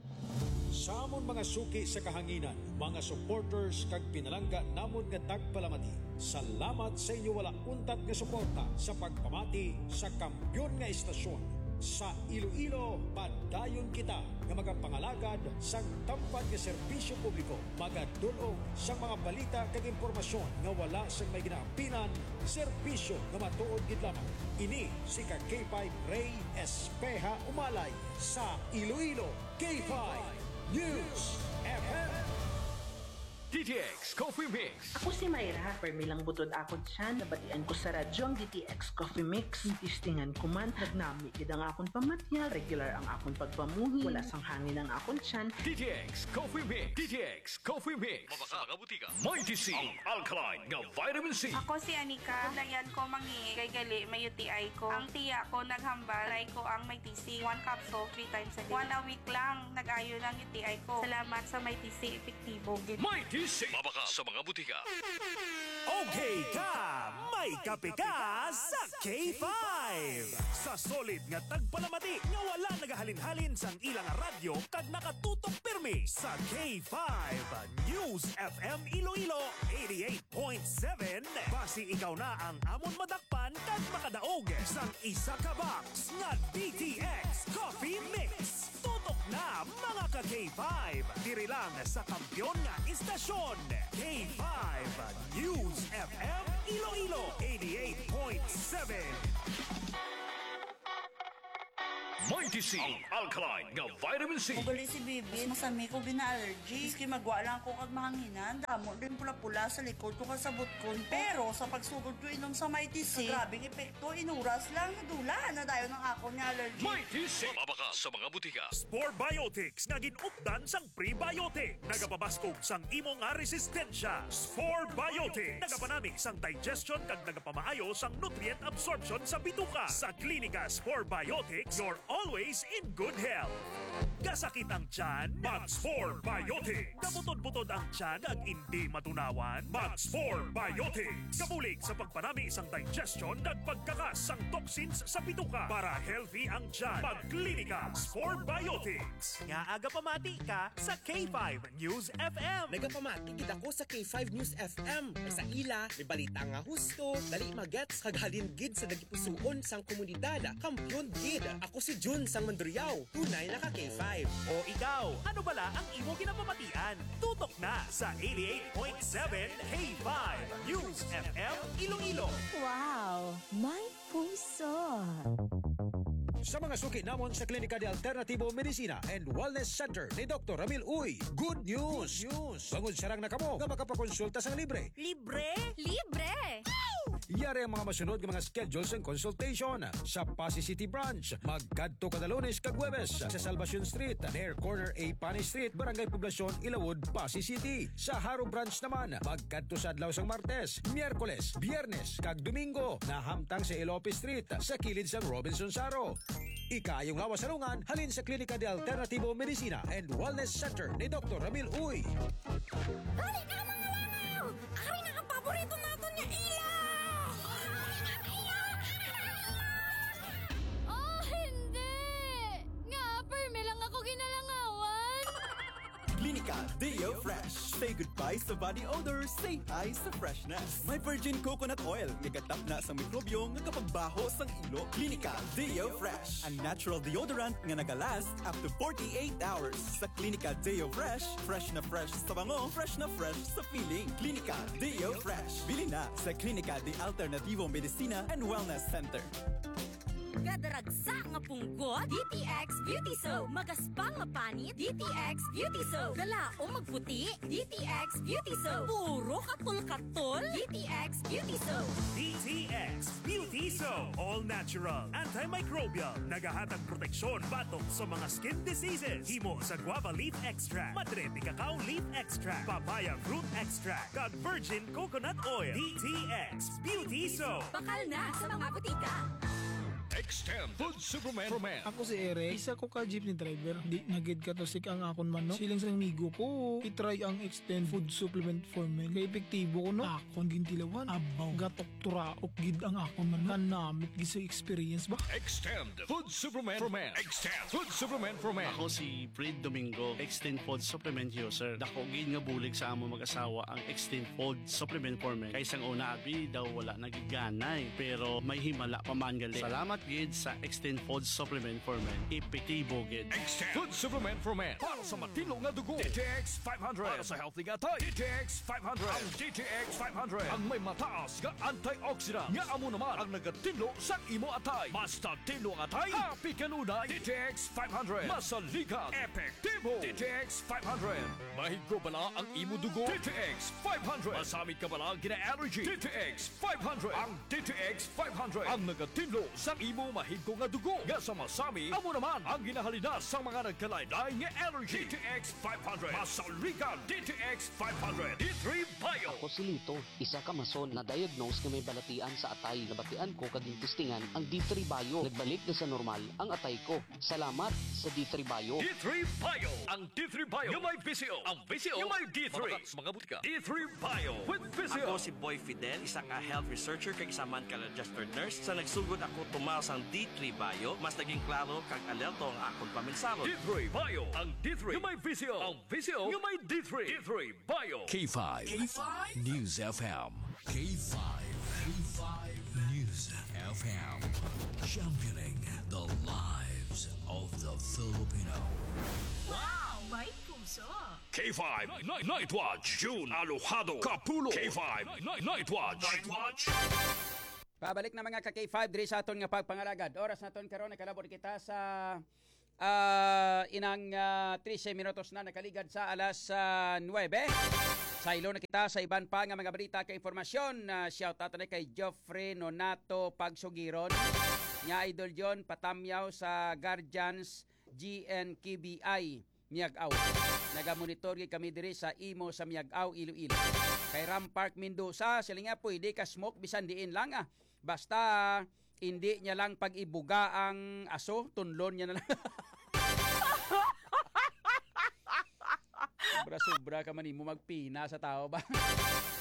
Sa amon mga suki sa kahanginan, mga supporters kag pinalangga namon nga tagpalamati, salamat sa inyo wala untat nga suporta sa pagpamati sa kampiyon nga istasyon. Sa Iloilo, padayon kita nga magapangalagad sang tampad nga serbisyo publiko, magadul-ong sang mga balita kag impormasyon nga wala sang may ginaampinan, serbisyo nga matuod gid lamang. Ini si ka K five Ray Espeha Umalay sa Iloilo, K five News F M. D T X Coffee Mix. Ako si Myra. Permi lang butod akon tiyan, nabatian ko sa radyo ang D T X Coffee Mix. Testingan ko man, nagnami gid ang akon pamatyag, regular ang akon pagpamuhi, wala sang hangin ang akon tiyan. D T X Coffee Mix. D T X Coffee Mix. Mabakal sa mga butika. Mighty C, ang alkaline nga vitamin C. Ako si Anika. Kabudlayan ko mangihi kay gali may U T I ko. Ang tiya ko naghambal, try ko ang Mighty C. One capsule, three times a day. One a week lang, nag-ayo lang U T I ko. Salamat sa Mighty C, epektibo gid. Mighty C. Mabakal sa mga butika. Okay ka, may kape ka sa K five. Sa solid nga tagpalamati nga wala nagahalin-halin sang ilang radyo kag nakatutok pirmi sa K five News F M Iloilo eighty-eight point seven. Basi ikaw na ang amon madakpan kag makadaog sang isa ka box nga D T X Coffee Mix. Tutok na, mga ka K five, diri lang sa kampiyon nga istasyon, K five News F M Iloilo, eighty-eight point seven. Mighty C, ang alkaline nga vitamin C. Ugali si Bibi, masami ko gina-allergy. Maski magwa lang ko kag mahanginan, damo din pula-pula sa likod ko kag sa butkon ko. Pero sa pagsugod ko inom sa Mighty C, grabing epekto, inuras lang, nadula na dayon ang akon nga allergy. Mighty C, mabakal sa mga butika. Spore Biotics nga gin-updan sang prebiotic. Nagapabaskog sang imo nga resistensya. Spore Biotics. Nagapanami sang digestion kag nagapamaayo sang nutrient absorption sa bituka. Sa Klinika Spore Biotics, you're always in good health. Kasakit ang tiyan? Mag-Spore Biotics. Kabutod-butod ang tiyan kag indi matunawan? Mag-Spore Biotics. Kabulig sa pagpanami sang digestion kag pagkakas sang toxins sa bituka para healthy ang tiyan. Mag-Klinika Spore Biotics. Nga aga pamati ka sa K five News F M. Nagapamati gid ako sa K five News F M. Kay sa ila, may balita nga husto, dali magets, kag halin gid sa nagipusuon sang komunidad. Kampiyon gid. Ako si Jun sang Mandurriao. Tunay na ka K five. O ikaw, ano bala ang imo ginapamatian? Tutok na sa eighty-eight point seven K five News F M Iloilo. Wow, my puso. Sa mga suki namon sa Klinika de Alternativo Medicina and Wellness Center ni Doktor Ramil Uy, good news! Good news! Bangod sarang na kamo nga makapakonsulta sang libre. Libre? Libre! Yari ang mga masunod nga mga schedule sang consultation. Sa Passi City Branch, magkadto kada Lunes kag Huwebes sa Salvacion Street, near corner A Panay Street, Barangay Poblacion, Ilawod, Passi City. Sa Jaro Branch naman, magkadto sa adlaw sang Martes, Miyerkules, Biyernes, kag Domingo, nahamtang sa Elope Street, sa kilid sang Robinson Saro. Ikaayong lawas sa lungan, halin sa Klinika de Alternativo Medicina and Wellness Center ni Doktor Ramil Uy. Dali na, mga langaw! Ari na ang paborito naton nga ilaw! Oh, hindi! Nga, permi lang ako ginalangawan! Klinika Deo Fresh. Say goodbye sa body odor, say hi sa freshness. May virgin coconut oil nga gatapna sang mikrobyo nga kapagbaho sang ilo. Klinika Deo Fresh, ang natural deodorant nga nagalast up to forty-eight hours. Sa Klinika Deo Fresh, fresh na fresh sa bango, fresh na fresh sa feeling. Klinika Deo Fresh. Bili na sa Klinika de Alternativo Medicina and Wellness Center. Gadaragsa nga punggot, D T X Beauty Soap. Magaspang nga panit, D T X Beauty Soap. Galaom magputi, D T X Beauty Soap. Puro katol-katol, D T X Beauty Soap. D T X Beauty Soap. All natural, antimicrobial. Nagahatag proteksyon batok sa mga skin diseases. Himo sa guava leaf extract, madre de cacao leaf extract, papaya fruit extract, kag virgin coconut oil. D T X Beauty Soap. Bakal na sa mga butika. Extend Food Supplement for Men. Ako si Eric, isa ko ka jeepney driver. Di na gid katusik ang akon manok. Siling sa amigo ko, i-try ang Extend Food Supplement for Men. Kay epektibo ko, no? Akon gintilawan. Abaw, gatok turaok gid ang akon manok. Kanamit gid sa experience ba? Extend Food Supplement for Men. Extend Food Supplement for Men. Ako si Fred Domingo, Extend Food Supplement User. Dako gid nga bulig sa among mag-asawa ang Extend Food Supplement for Men. Kay sang una, abi daw wala na gid ganay, pero may himala pa man gali. Salamat gid sa Extend Food Supplement for Men. Epektibo gid. Extend Food Supplement for Men. Para sa matinlo nga dugo, D T X five hundred. Para sa healthy nga atay, D T X five hundred. Ang D T X five hundred ang may mataas nga antioxidant nga amo naman ang nagatinlo sang imo atay. Basta tinlo ang atay, happy kanunay. D T X five hundred. Masaligan, epektibo. D T X five hundred. Mahigko bala ang imo dugo? D T X five hundred. Masami ka bala gina-allergy? D T X five hundred. Ang D T X five hundred ang nagatinlo sang imo mahigko nga dugo nga sa masami, amo naman ang ginahalinas sang mga nagkalain-lain nga allergy. D T X five hundred. Masaligan, D T X five hundred. D three Bio. Ako si Lito, isa ka mason na diagnose nga may balatian sa atay. Nabatian ko kag gintistingan ang D three Bio. Nagbalik na sa normal ang atay ko. Salamat sa D three Bio. D three Bio. Ang D three Bio nga may V C O. Ang V C O nga may D three. Mabakal sa mga butika. D three Bio with V C O. Ako si Boy Fidel, isa ka health researcher kag isa man ka registered nurse. Sa nagsugod ako tumaw sang D three Bio, mas naging klaro kag alerto ang akon pamensahon. D three Bio. Ang D three nga may V C O. Ang V C O nga may D three. D three Bio. K five. K five News F M. K five. K five News F M. Championing the lives of the Filipino. Wow! May K five Night, Night Watch, June Alojado Kapulo. K five Night, Night Watch. Night Watch. Pabalik na, mga ka K five, diri sa aton nga pagpangalagad. Oras naton karon, nakalabot kita sa, ah, inang, ah, trese minutos na nakaligad sa alas, ah, nuwebe. Saylo na kita sa iban pa nga mga balita kag impormasyon. Ah, shout out na kay Geoffrey Nonato Pagsugiron. Nya, Idol John, patamyaw sa Guardians G N K B I. Miag-aw. Nagamonitor gid kami diri sa imo sa Miag-aw, Iloilo. Kay Ram Park Mendoza, sila nga pwede ka smoke bisan diin lang, ah. Basta hindi niya lang pag-ibuga ang aso, tunlon niya na lang. Sobra-sobra ka man nimo magpina sa tao ba?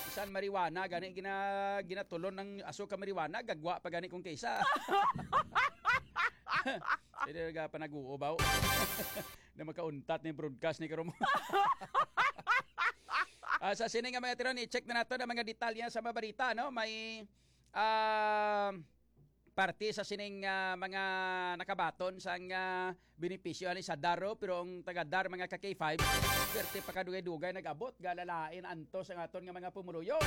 Bisan marijuana, gani gina-, ginatulon ng aso ka marijuana, gagwa pa gani kung kaysa. Hindi na panaguo ba? Na makauntat ni broadcast ni karon. Ah, sa sini nga mga tiron, i-check na nato ang mga detalye sa mga balita, no? May, ah, parte sa sining, ah, mga nakabaton sang, ah, benepisyo ani sa DAR, pero ang taga DAR, mga ka K five, swerte pa kadugay-dugay nag-abot, galalain antos ang aton nga mga pumuluyo.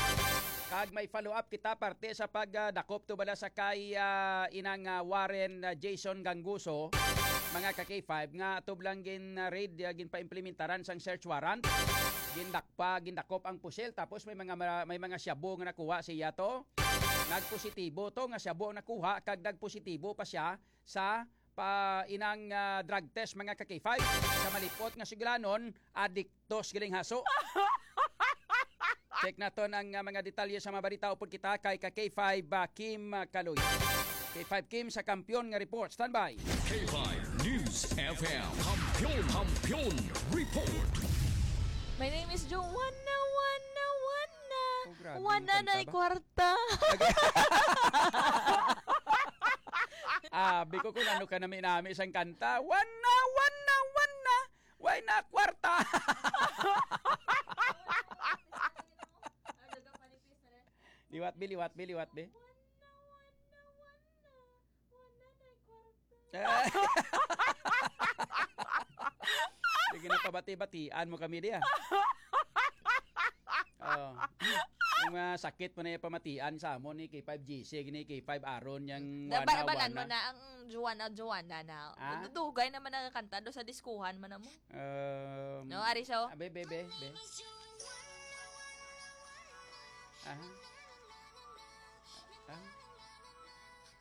Kag may follow-up kita parte sa pagdakop to bala sa kay, ah, inang, ah, Warren, ah, Jason Ganguso, mga ka K five, nga atob lang gin, ah, raid, ah, ginpaimplementaran sang search warrant. Gindakpa, gindakop ang pusil, tapos may mga mara-, may mga shabu nga nakuha siya to. Nagpositibo to nga shabu ang nakuha, kag nagpositibo pa siya sa pa inang, ah, drug test, mga ka K five. Sa malipot nga sugilanon, adiktos giling haso. Check naton ang, ah, mga detalye sa mga balita upod kita kay ka K five, ah, Kim, ah, Kaloy. K five Kim sa Kampiyon nga report. Standby. K five News F M. Kampiyon, Kampiyon Report. My name is Joanna, Wanna, Wanna. Oh, grabe, Wanna nagkanta na ba? Kwarta. Abi ko kung ano ka nami-nami sang kanta. Wanna, wanna, wanna. Way na kwarta. Liwat, be, liwat, be, liwat, be. Sige na, pabati-batian mo kami diya. Oh. Yung mga sakit mo na yung pamatian sa amon ni K five G C, ni K five Aaron, yung Da-, ba-, balan mo na ang Joanna, Joanna na. Ah? Dugay naman ang kanta do sa diskuhan man mo. Um, No, Ariso? Ah, be, be, be, be. Ah. Ah.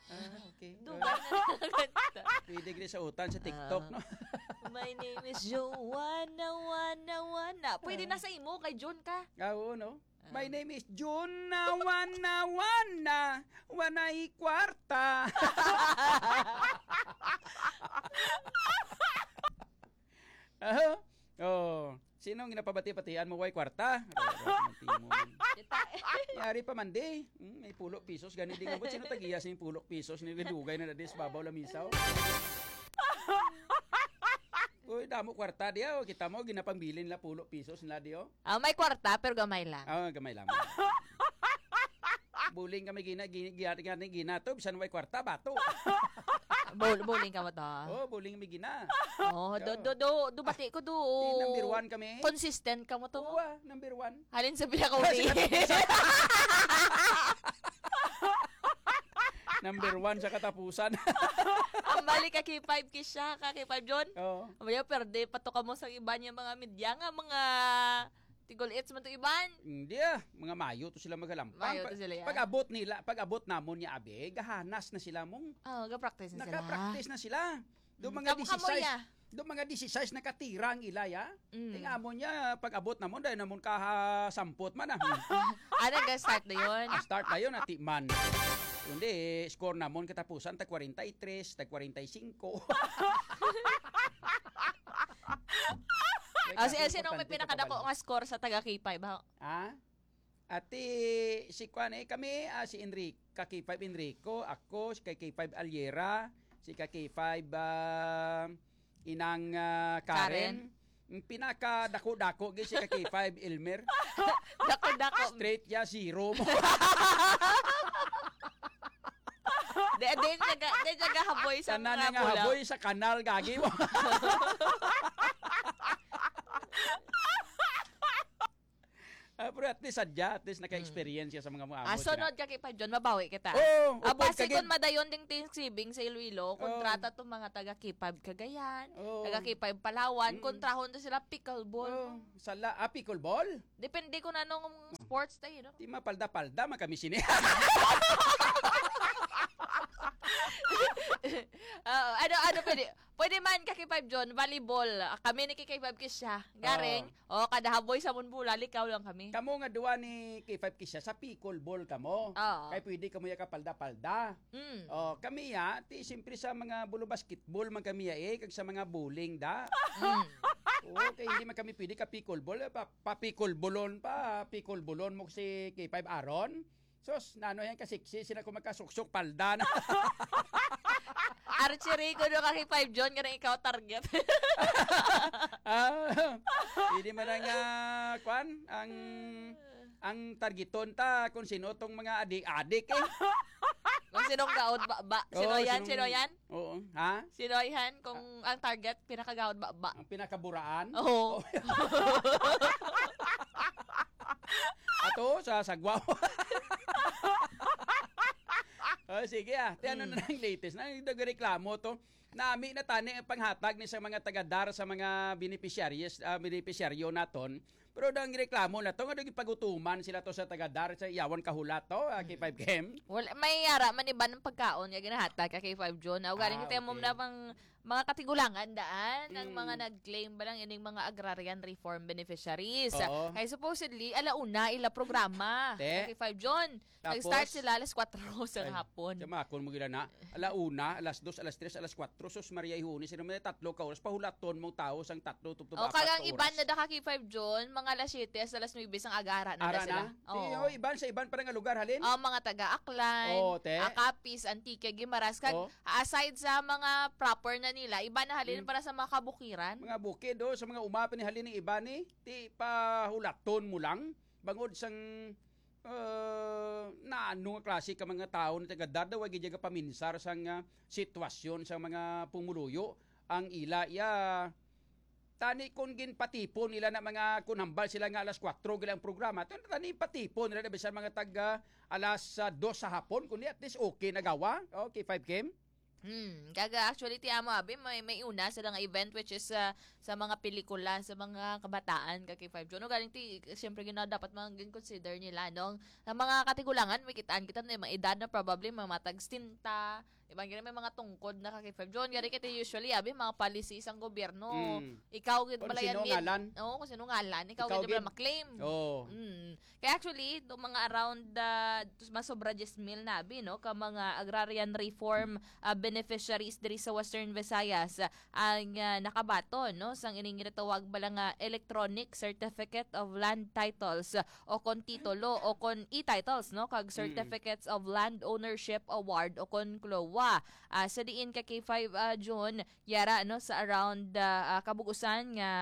Ah, okay. Dugay na nakakanta. Pwede gid sa utan sa TikTok, Ah. no? My name is Joanna, Wanna, Wanna. Pwede Ah. na sa imo, kay Jun ka. Ah, oo, no? Ah. My name is Jun, na, Wanna, Wanna. Wanay kwarta. Aha. Oh. Sino ang ginapabati-batian mo, way kwarta? Aray, aray, aray, aray, aray. Kita. Yari pa man di. Hmm, may pulo pisos, gani di nga, ba't sino tagiya sing pulo pisos? Ni dugay na na dis, babaw lamisaw. Uy, damo kwarta diya, oh. Kita mo, ginapambilin nila pulo pisos nila diyo. Ah, may kwarta, pero gamay lang. Ah, gamay lang. Buling kami gina-, gina-, gina-, gina-, ginato, bisan way kwarta, bato. Bul-, buling ka mo to. Oh, buling mi gina. Oh, do, Oo. do, do, do, bati ko do. Di, number one kami. Consistent ka mo to. Oo, ah, number one. Halin sa pila ka Sa uli. katapusan. Number one sa katapusan. Ang balik ka K five Kisha, ka K five John. Oo. Ang balik, perde pa to ka mo sa iba niya mga media nga, mga Tigol-its man to iban. Hindi ah, mga mayo to sila magalampang. Mayo to Pa-, sila, ya. pag-abot nila, pag-abot namon niya, abi, gahanas na sila mong Oh, ga-practice na sila. naka-practice na sila. Do Mm, mga kamo, kamo, disisais, ya. do mga disisais na katira ang ila, ya. Mm. Ting amon niya, pag-abot namon, dahil namon kaha sampot man ah. Ano, ga-start na yun? Ah, start na yun, ati man. Kundi, score namon katapusan, tag kwarenta y tres, tag kwarenta y singko. Ah, si, May sino may kapante ka pinakadako pabalik. nga score sa taga K five, ha? Ah? Ati, si kuan eh, kami, ah, si Enrico, ka K five Enrico, ako, si ka K five Aliera, si ka K five, ah, Inang, ah, Karen. Karen. Ang pinakadako-dako, gid si ka K five Elmer. Dako-dako. Straight ya, zero mo. Di, di, naga-, di, nagahaboy sa Tanan mga nga bulaw. haboy sa kanal, gagi mo. Ah, pero at least, sadya, at least naka-experience siya sa mga muamot. Ah, sunod ka, K five John, mabawi kita. Oo, Ah, upod basi kagid. Kung madayon ding Thanksgiving sa Iloilo, Oo. Kontrata tong mga taga K five Cagayan, Oo. Taga K five Palawan, Mm. Kontrahon to sila pickleball. Oo, sala, ah, pickleball? Depende kung anong sports tayo, no? Di mapalda-palda man kami sini. Oo, ano, ano pwede? Pwede man ka K five John, volleyball. Ah, kami ni K five Kisha. Garing, Oo. O, kada haboy sa Munbulal, ikaw lang kami. Kamo nga duwa ni K five Kisha, sa pickleball kamo. Oo. Kay pwede kamo ya kapalda-palda. Mm. O, kami ya, ti, siyempre sa mga bulo basketball man kami ya eh, kag sa mga bowling da. Mm. Oo, kay hindi man kami pwede ka pickleball, eh, pa, pa pickleballon pa, pickleballon mo si K five Aaron. Sus, nano yan ka sexy, sila ko magkasuksok, palda na. Archery ko no ka K five John, nga ikaw target. Ah, hindi man ang, ah, kwan, ang, ang targeton ta kung sino tong mga adik-adik eh. Kung sinong gaod ba, ba? Sino Oo, yan? sinong Sino yan? Oo. Ha? Sino yan? Kung ang target, pinakagaod ba, ba? Ang pinakaburaan? Oo. Oh. Ato sa sagwaw. Oh, sige ah. Ti ano Mm. na ang latest? Na nagreklamo to. Nami na tani ang panghatag ni sa mga taga-DAR sa mga beneficiaries, ah, beneficiaryo naton. Pero ang reklamo na to, nga nagpagutuman sila to sa taga-DAR sa iyawan kahulat to, ah, K five Kim. Well, may ara man iban ang pagkaon nga ginahatag ka K five John. Aw, galing Ah, tayo mo okay. na pang mga katigulangan daan, ang Mm. mga nag-claim ba lang ining mga agrarian reform beneficiaries. Oo. Kay supposedly, alauna ila programa. Te? Sa K five John. Tapos? Nag-start sila alas kwatro sa Ay, hapon. Sa makon mo gila na. Ala una, alas dos, alas tres, alas kwatro. Sus, Maria, ihuni sila may tatlo ka oras. Pahulaton mong tao sang tatlo, tubtob O, apat kagang ka iban oras. Na da ka K five John, mga alas siyete hasta alas nuwebe sang aga, ara na da Ara sila. na? Oo. Di, oh, iban sa iban pa nga lugar, halin? Oh, mga taga Aklan, Oh, te. Ah, Capiz, Antique, Guimaras, kag Oh. aside sa mga proper na nila, iba na halin Mm. para sa mga kabukiran. Mga bukid, oh, sa mga uma pa ni halin ni iba ni, ti pahulaton mo lang, bangod sang, uh, naano nga klase ka mga tao na taga-DAR, wa gid paminsar sang, ah, sitwasyon sa mga pumuluyo, ang ila, ya, tani kung ginpatipon nila na mga, kung hambal sila nga alas kwatro gila ang programa, tan-, tani patipon nila na bisan mga taga alas, ah, dos sa hapon, kundi at least okay na gawa. Okay, five Kim? Hmm, kaga actually, ti amo, abi, may, may una sila nga event, which is, ah, sa mga pelikula, sa mga kabataan, ka K five John. No, galing ti, siyempre, gina-, dapat mga gin-consider nila, no? Ang mga katigulangan, may kitaan kita na may edad na probably, mga matag sixty, iban gani may mga tungkod na ka K five John. Gani kay ti usually, abi, mga policy sang gobyerno. Mm. Ikaw gid Kung bala yan sino gid. Ngalan. Oo, kung sino ngalan, ikaw Ikaw gid bala gid. Maklaim. Oo. Mm. Kaya actually, itong mga around, ah, masobra diyes mil na, abi, no, ka mga agrarian reform, ah, beneficiaries diri sa Western Visayas, ah, ang, ah, nakabaton, no, sang ining ginatawag bala nga electronic certificate of land titles, ah, o kon titulo, o kon e-titles, no, kag Mm. certificates of land ownership award, o kon cloa. Ah, sa diin ka K five, ah, June, yara, no, sa around, ah, ah, kabug-usan nga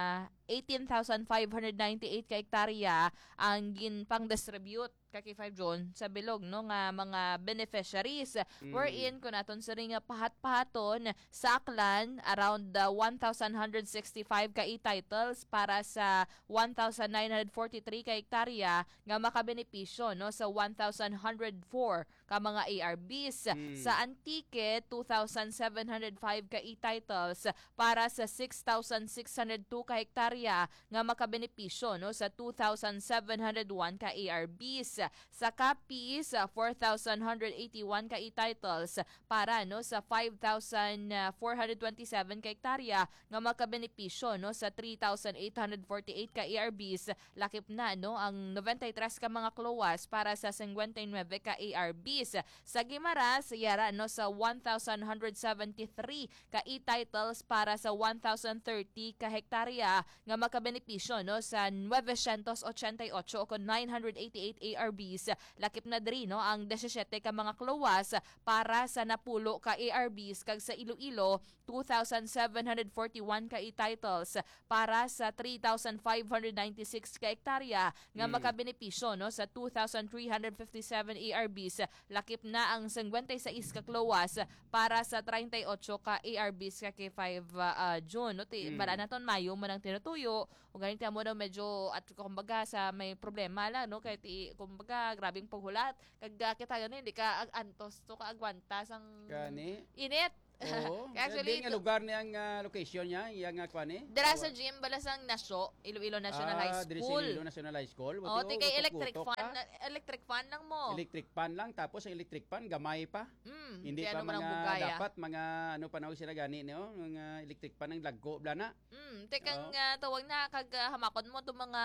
eighteen thousand five hundred ninety-eight ka hektarya ang ginpang-distribute ka K five John sa bilog, no, nga mga beneficiaries. Mm. Wherein, kung aton sini nga pahat-pahaton, sa Aklan, around, uh, one thousand hundred sixty-five ka e-titles para sa one thousand nine hundred forty-three ka hektarya nga makabenepisyo, no, sa one thousand hundred four ka mga A R Bs. Mm. Sa Antique, two thousand seven hundred five ka e-titles para sa six thousand six hundred two ka hektarya nga makabenepisyo, no, sa two thousand seven hundred one ka A R Bs. Sa Capiz, ah, four thousand hundred eighty-one ka e-titles para, no, sa five thousand four hundred twenty-seven ka hektarya nga makabenepisyo, no, sa three thousand eight hundred forty-eight ka A R Bs. Lakip na, no, ang ninety-three ka mga cloas para sa fifty-nine ka A R Bs. Sa Guimaras, yara, no, sa one thousand one hundred seventy-three ka e-titles para sa one thousand thirty ka hektarya nga makabenepisyo, no, sa nine hundred eighty-eight o kon nine hundred eighty-eight A R Bs. Lakip na diri, no, ang disisiete ka mga CLOAs para sa napulo ka A R Bs, kag sa Iloilo, two thousand seven hundred forty-one ka e-titles para sa three thousand five hundred ninety-six ka ektarya nga Mm. makabenepisyo, no, sa two thousand three hundred fifty-seven A R Bs. Lakip na ang singkwenta y seis ka CLOAs para sa treinta y ocho ka A R Bs ka K five, ah, ah, June, no? Ti, Mm. bala naton Mayo man ang tinutuyo, o galing ti amo daw medyo, at kumbaga, sa may problema lang, no? Kay ti, kumbaga, grabing paghulat. Kag, ah, kita gani, hindi ka ag-, antos to ka agwanta sang Gani? init. Oo. Kaya actually, Di nga to lugar niya ang, ah, location niya, iya nga kwan eh. Dira sa Awa. gym, bala sang Nasyo, Iloilo National Ah, High diri sa School. Iloilo National High School. Oh, Buti ti kay ko electric gutok-gutok fan, ka. na, electric fan lang mo. Electric fan lang, tapos ang electric fan, gamay pa. Mm, Hindi kaya pa ano mo nang mga bugaya? dapat, mga ano pa na sila gani, no? Mga electric fan ang lagko, bla na. Mm, tekang, Oo. ah, tawag na, kag, ah, hamakon mo to mga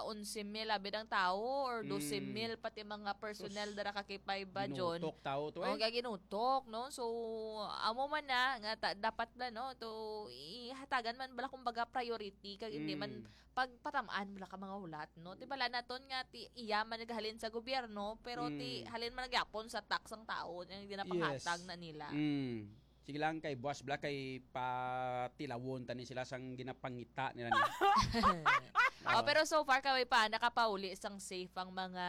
onse mil, abi ang tao, or Mm. dose mil, pati mga personnel Sus, dara ka K five ba, John? ginutok tao to, O, eh. gaginutok, no? So, amo man na, nga ta-, dapat na, no? To, ihatagan man bala, kumbaga, priority, kag hindi man Mm. pagpatamaan bala ka mga hulat, no? Ti bala naton nga, ti, iya man naghalin sa gobyerno, pero ti, Mm. halin man nagyapon sa tax ang tao, nga ginapahatag Yes. na nila. Mm. Sige lang, kay buwas bala, kay patilawon tani sila sang ginapangita nila ni. Oh, Oo. pero so far, kaway pa, nakapauli sang safe ang mga,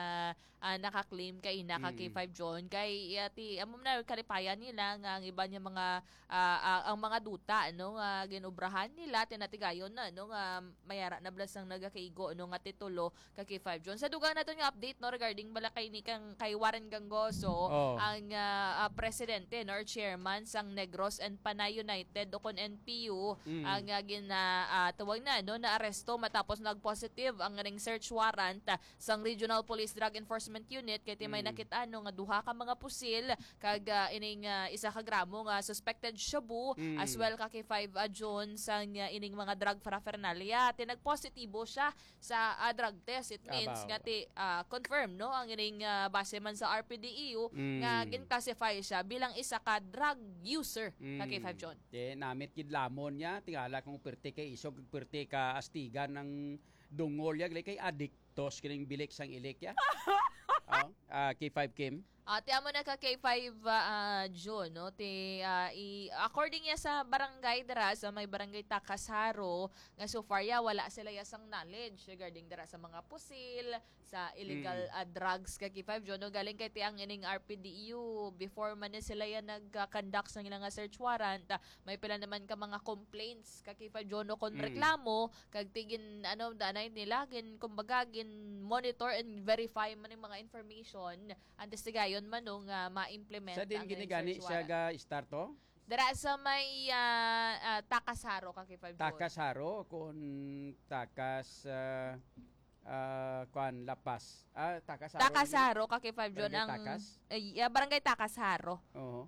ah, naka-claim kay ina ka Mm. K five John. Kay, ah, ti, amo na, kalipayan nila nga ang iban nga mga, ah, ah, ang mga duta, no, nga ginobrahan nila, tinatigayon na, no, nga mayara na bala sang nagakaigo, no, nga titulo ka K five John. Sa dugang naton nga update, no, regarding bala kay ni kang, kay Warren Gangoso, Oh. ang, ah, ah, presidente, no, or chairman sang Negros and Panay United, o kon N P U, Mm. ang, ah, gina-, ah, tawag na, no, naaresto matapos nag-positive ang ring search warrant, ah, sang Regional Police Drug Enforcement Unit, kay ti may Mm. nakit-an, no, nga duha ka mga pusil, kag, ah, ining, ah, isa ka gramo nga suspected shabu, Mm. as well ka K five, ah, John, sang, ah, ining mga drug paraphernalia. Ti nagpositibo siya sa, ah, drug test. It means Abaw. nga ti, ah, confirm, no, ang ining, ah, base man sa R P D E U Mm. nga gin-classify siya bilang isa ka drug user ka Mm. K five John. Ti namit gid lamon niya, tingala kung perti kay isog, perti ka astigan ang dungol niya, gali kay adiktos kining bilik sang ilik ya. Oh, ah, K five Kim. Ah, ti amo na ka K five, ah, June, no? Ti, ah, i-, according niya sa barangay dira, sa may barangay Takasaro, nga so far ya, wala sila ya sang knowledge regarding dira sa mga pusil, sa illegal, Mm. ah, drugs ka K five June, no? Galing kay ti ang ining R P D U, before man ni sila ya nag-conduct sa ilang nga search warrant, ah, may pila naman ka mga complaints ka K five June, no? Kung Mm. reklamo, kag ti gin, ano, danay nila, gin, kumbaga, gin monitor and verify man yung mga information. Antes ti gayon man, no, nga ma-implement Sa din ang gini gani search siya warrant. ga-start to? Dira sa may, ah, ah, Takasaro ka, K five Joy. Takasaro, kung Takas, ah, ah, kwan, Lapas. Ah, Takasaro. Takasaro ka, K five Joy, Barangay ang, Takas? eh, ah, Barangay Takasaro. Oo.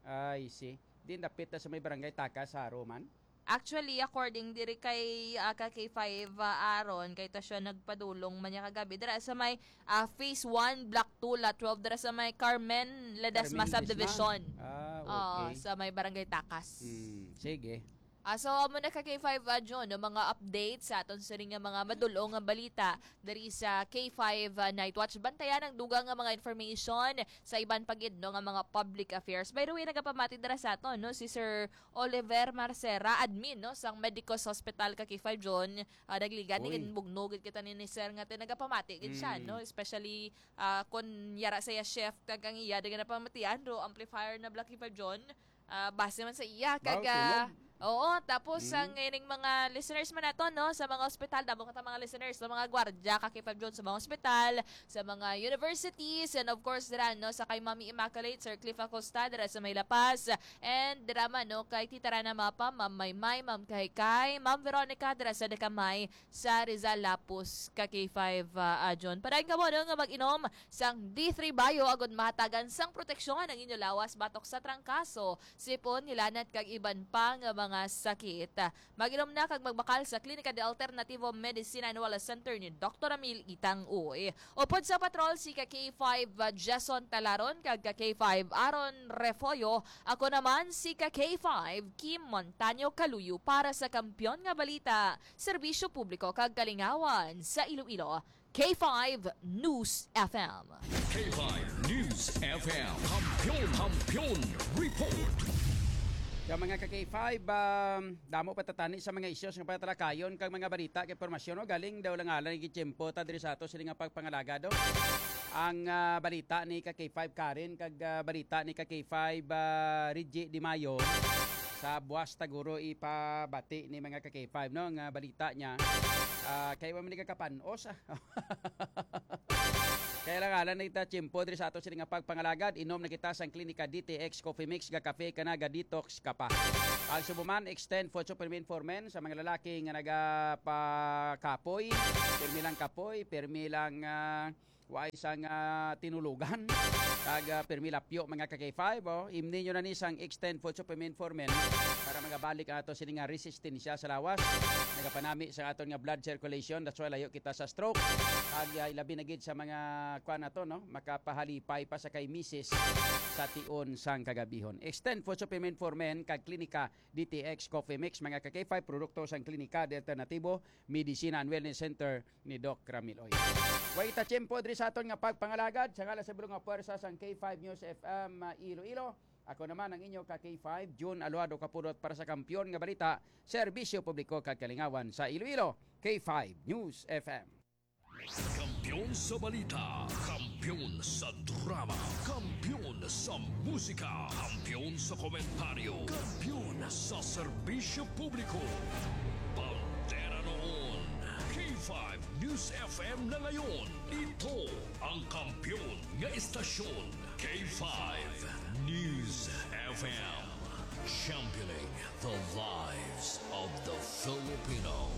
I see. Di napit na sa may Barangay Takasaro man? Actually, according diri kay, ah, ka K five, ah, Aaron, kay ta siya nagpadulong man niya kagabi. Dira sa may, ah, Phase one, Block two, Lot twelve, dira sa may Carmen Ledesma Carmen Ledesma? Subdivision. Ah, Oo, okay. sa may Barangay Takas. Hmm, sige. Ah, so, amo na ka K five, ah, Jun, no, mga updates sa aton siring nga mga madulong nga balita diri sa K five, ah, Night Watch. Bantayan ang dugang nga mga information sa iban pa gid, no, nga mga public affairs. By the way, nagapamati dira sa aton, no, si Sir Oliver Marcera, admin, no, sang Medicos Hospital ka K five Jun. Ah, nagligan ni Uy. Ginbugno gid kita ni, ni Sir nga ti nagapamati gid siya, Mm. no, especially, ah, kun yara sa iya shift kag ang iya di nga napamatian, do amplifier na Black K five Jun. Ah, base man sa iya, Wow, kag, ah, sunog. oo, tapos Mm. ang ining mga listeners man nato, no, sa mga ospital, damo kita mga listeners, sa mga gwardya, ka K five Jun, sa mga ospital, sa mga universities, and of course, dira, no, sa kay Mami Immaculate, Sir Cliff Acosta, dira sa may La Paz, and dira man, no, kay Tita Rana Mapa, Ma'am Maymay, Ma'am Kahikay, Ma'am Veronica, dira sa Dacamay, sa Rizal, Lapus, ka K five, ah, ah, Jun. Padayon kamo, no, nga mag-inom sang D three Bio agud mahatagan sang proteksyon ang inyo lawas batok sa trangkaso, sipon, hilanat, kag iban pa nga mga sakit. Mag-inom na kag magbakal sa Klinika de Alternativo Medicina and Wellness Center ni Doktor Ramil Itang Uy. Upod sa patrol si ka K five Jason Talaron kag ka K five Aaron Refollo. Ako naman si ka K five Kim Montaño Kaluyo para sa Kampiyon nga Balita, Serbisyo Publiko kag Kalingawan sa Iloilo. K five News F M. K five News F M. Kampiyon, Kampiyon Report. Sa mga ka K five, um, damo pa ta tani sa mga issues nga pagtalakayon kag mga balita kag impormasyon, no? Galing daw lang alang gitiyempo ta diri sa ato sini nga pagpangalagad, no? Ang, ah, balita ni ka K five Karen kag, ah, balita ni ka K five, ah, Reggie Di Mayo sa buwas ta guro ipabati ni mga ka K five, no? Nga balita niya, ah, kay wa man ni kakapanos, ah. Kaya lang, alang na kita tiyempo diri sa ato sini nga pagpangalagad, inom na kita sang Klinika D T X Coffee Mix, ga kape ka na, ga detox ka pa. Ang subuman, Extend Food Supplement for Men sa mga lalaki nga nagapakapoy, pirmi lang kapoy, pirmi lang, ah, way sang, ah, tinulugan, kag, ah, pirmi lapyo, mga ka K five, oh. Imni nyo na ni sang Extend Food Supplement for Men para magabalik ang ato sini nga resistensya sa lawas. Nagapanami sa aton nga blood circulation, that's why layo kita sa stroke. Kag, ah, ilabi na gid sa mga, kuan nato, no, makapahalipay pa sa kay misis sa tion sang kagabihon. Extend Food Supplement for Men kag Klinika D T X Coffee Mix, mga ka K five, produkto sang Klinika de Alternatibo Medicina and Wellness Center ni Doc Ramil Oy. Way ta tiyempo diri sa aton nga pagpangalagad sa ngalan sa bulong nga puwersa sang K five News F M, ah, Iloilo. Ako naman ang inyo ka K five, June Aluado Kapudot para sa Kampiyon nga Balita, Serbisyo Publiko kag Kalingawan sa Iloilo, K five News F M. Kampiyon sa balita, kampiyon sa drama, kampiyon sa musika, kampiyon sa komentaryo, kampiyon sa serbisyo publiko. Bandera noon, K five News F M na ngayon. Ito ang kampiyon nga estasyon, K five News F M. Championing the lives of the Filipino.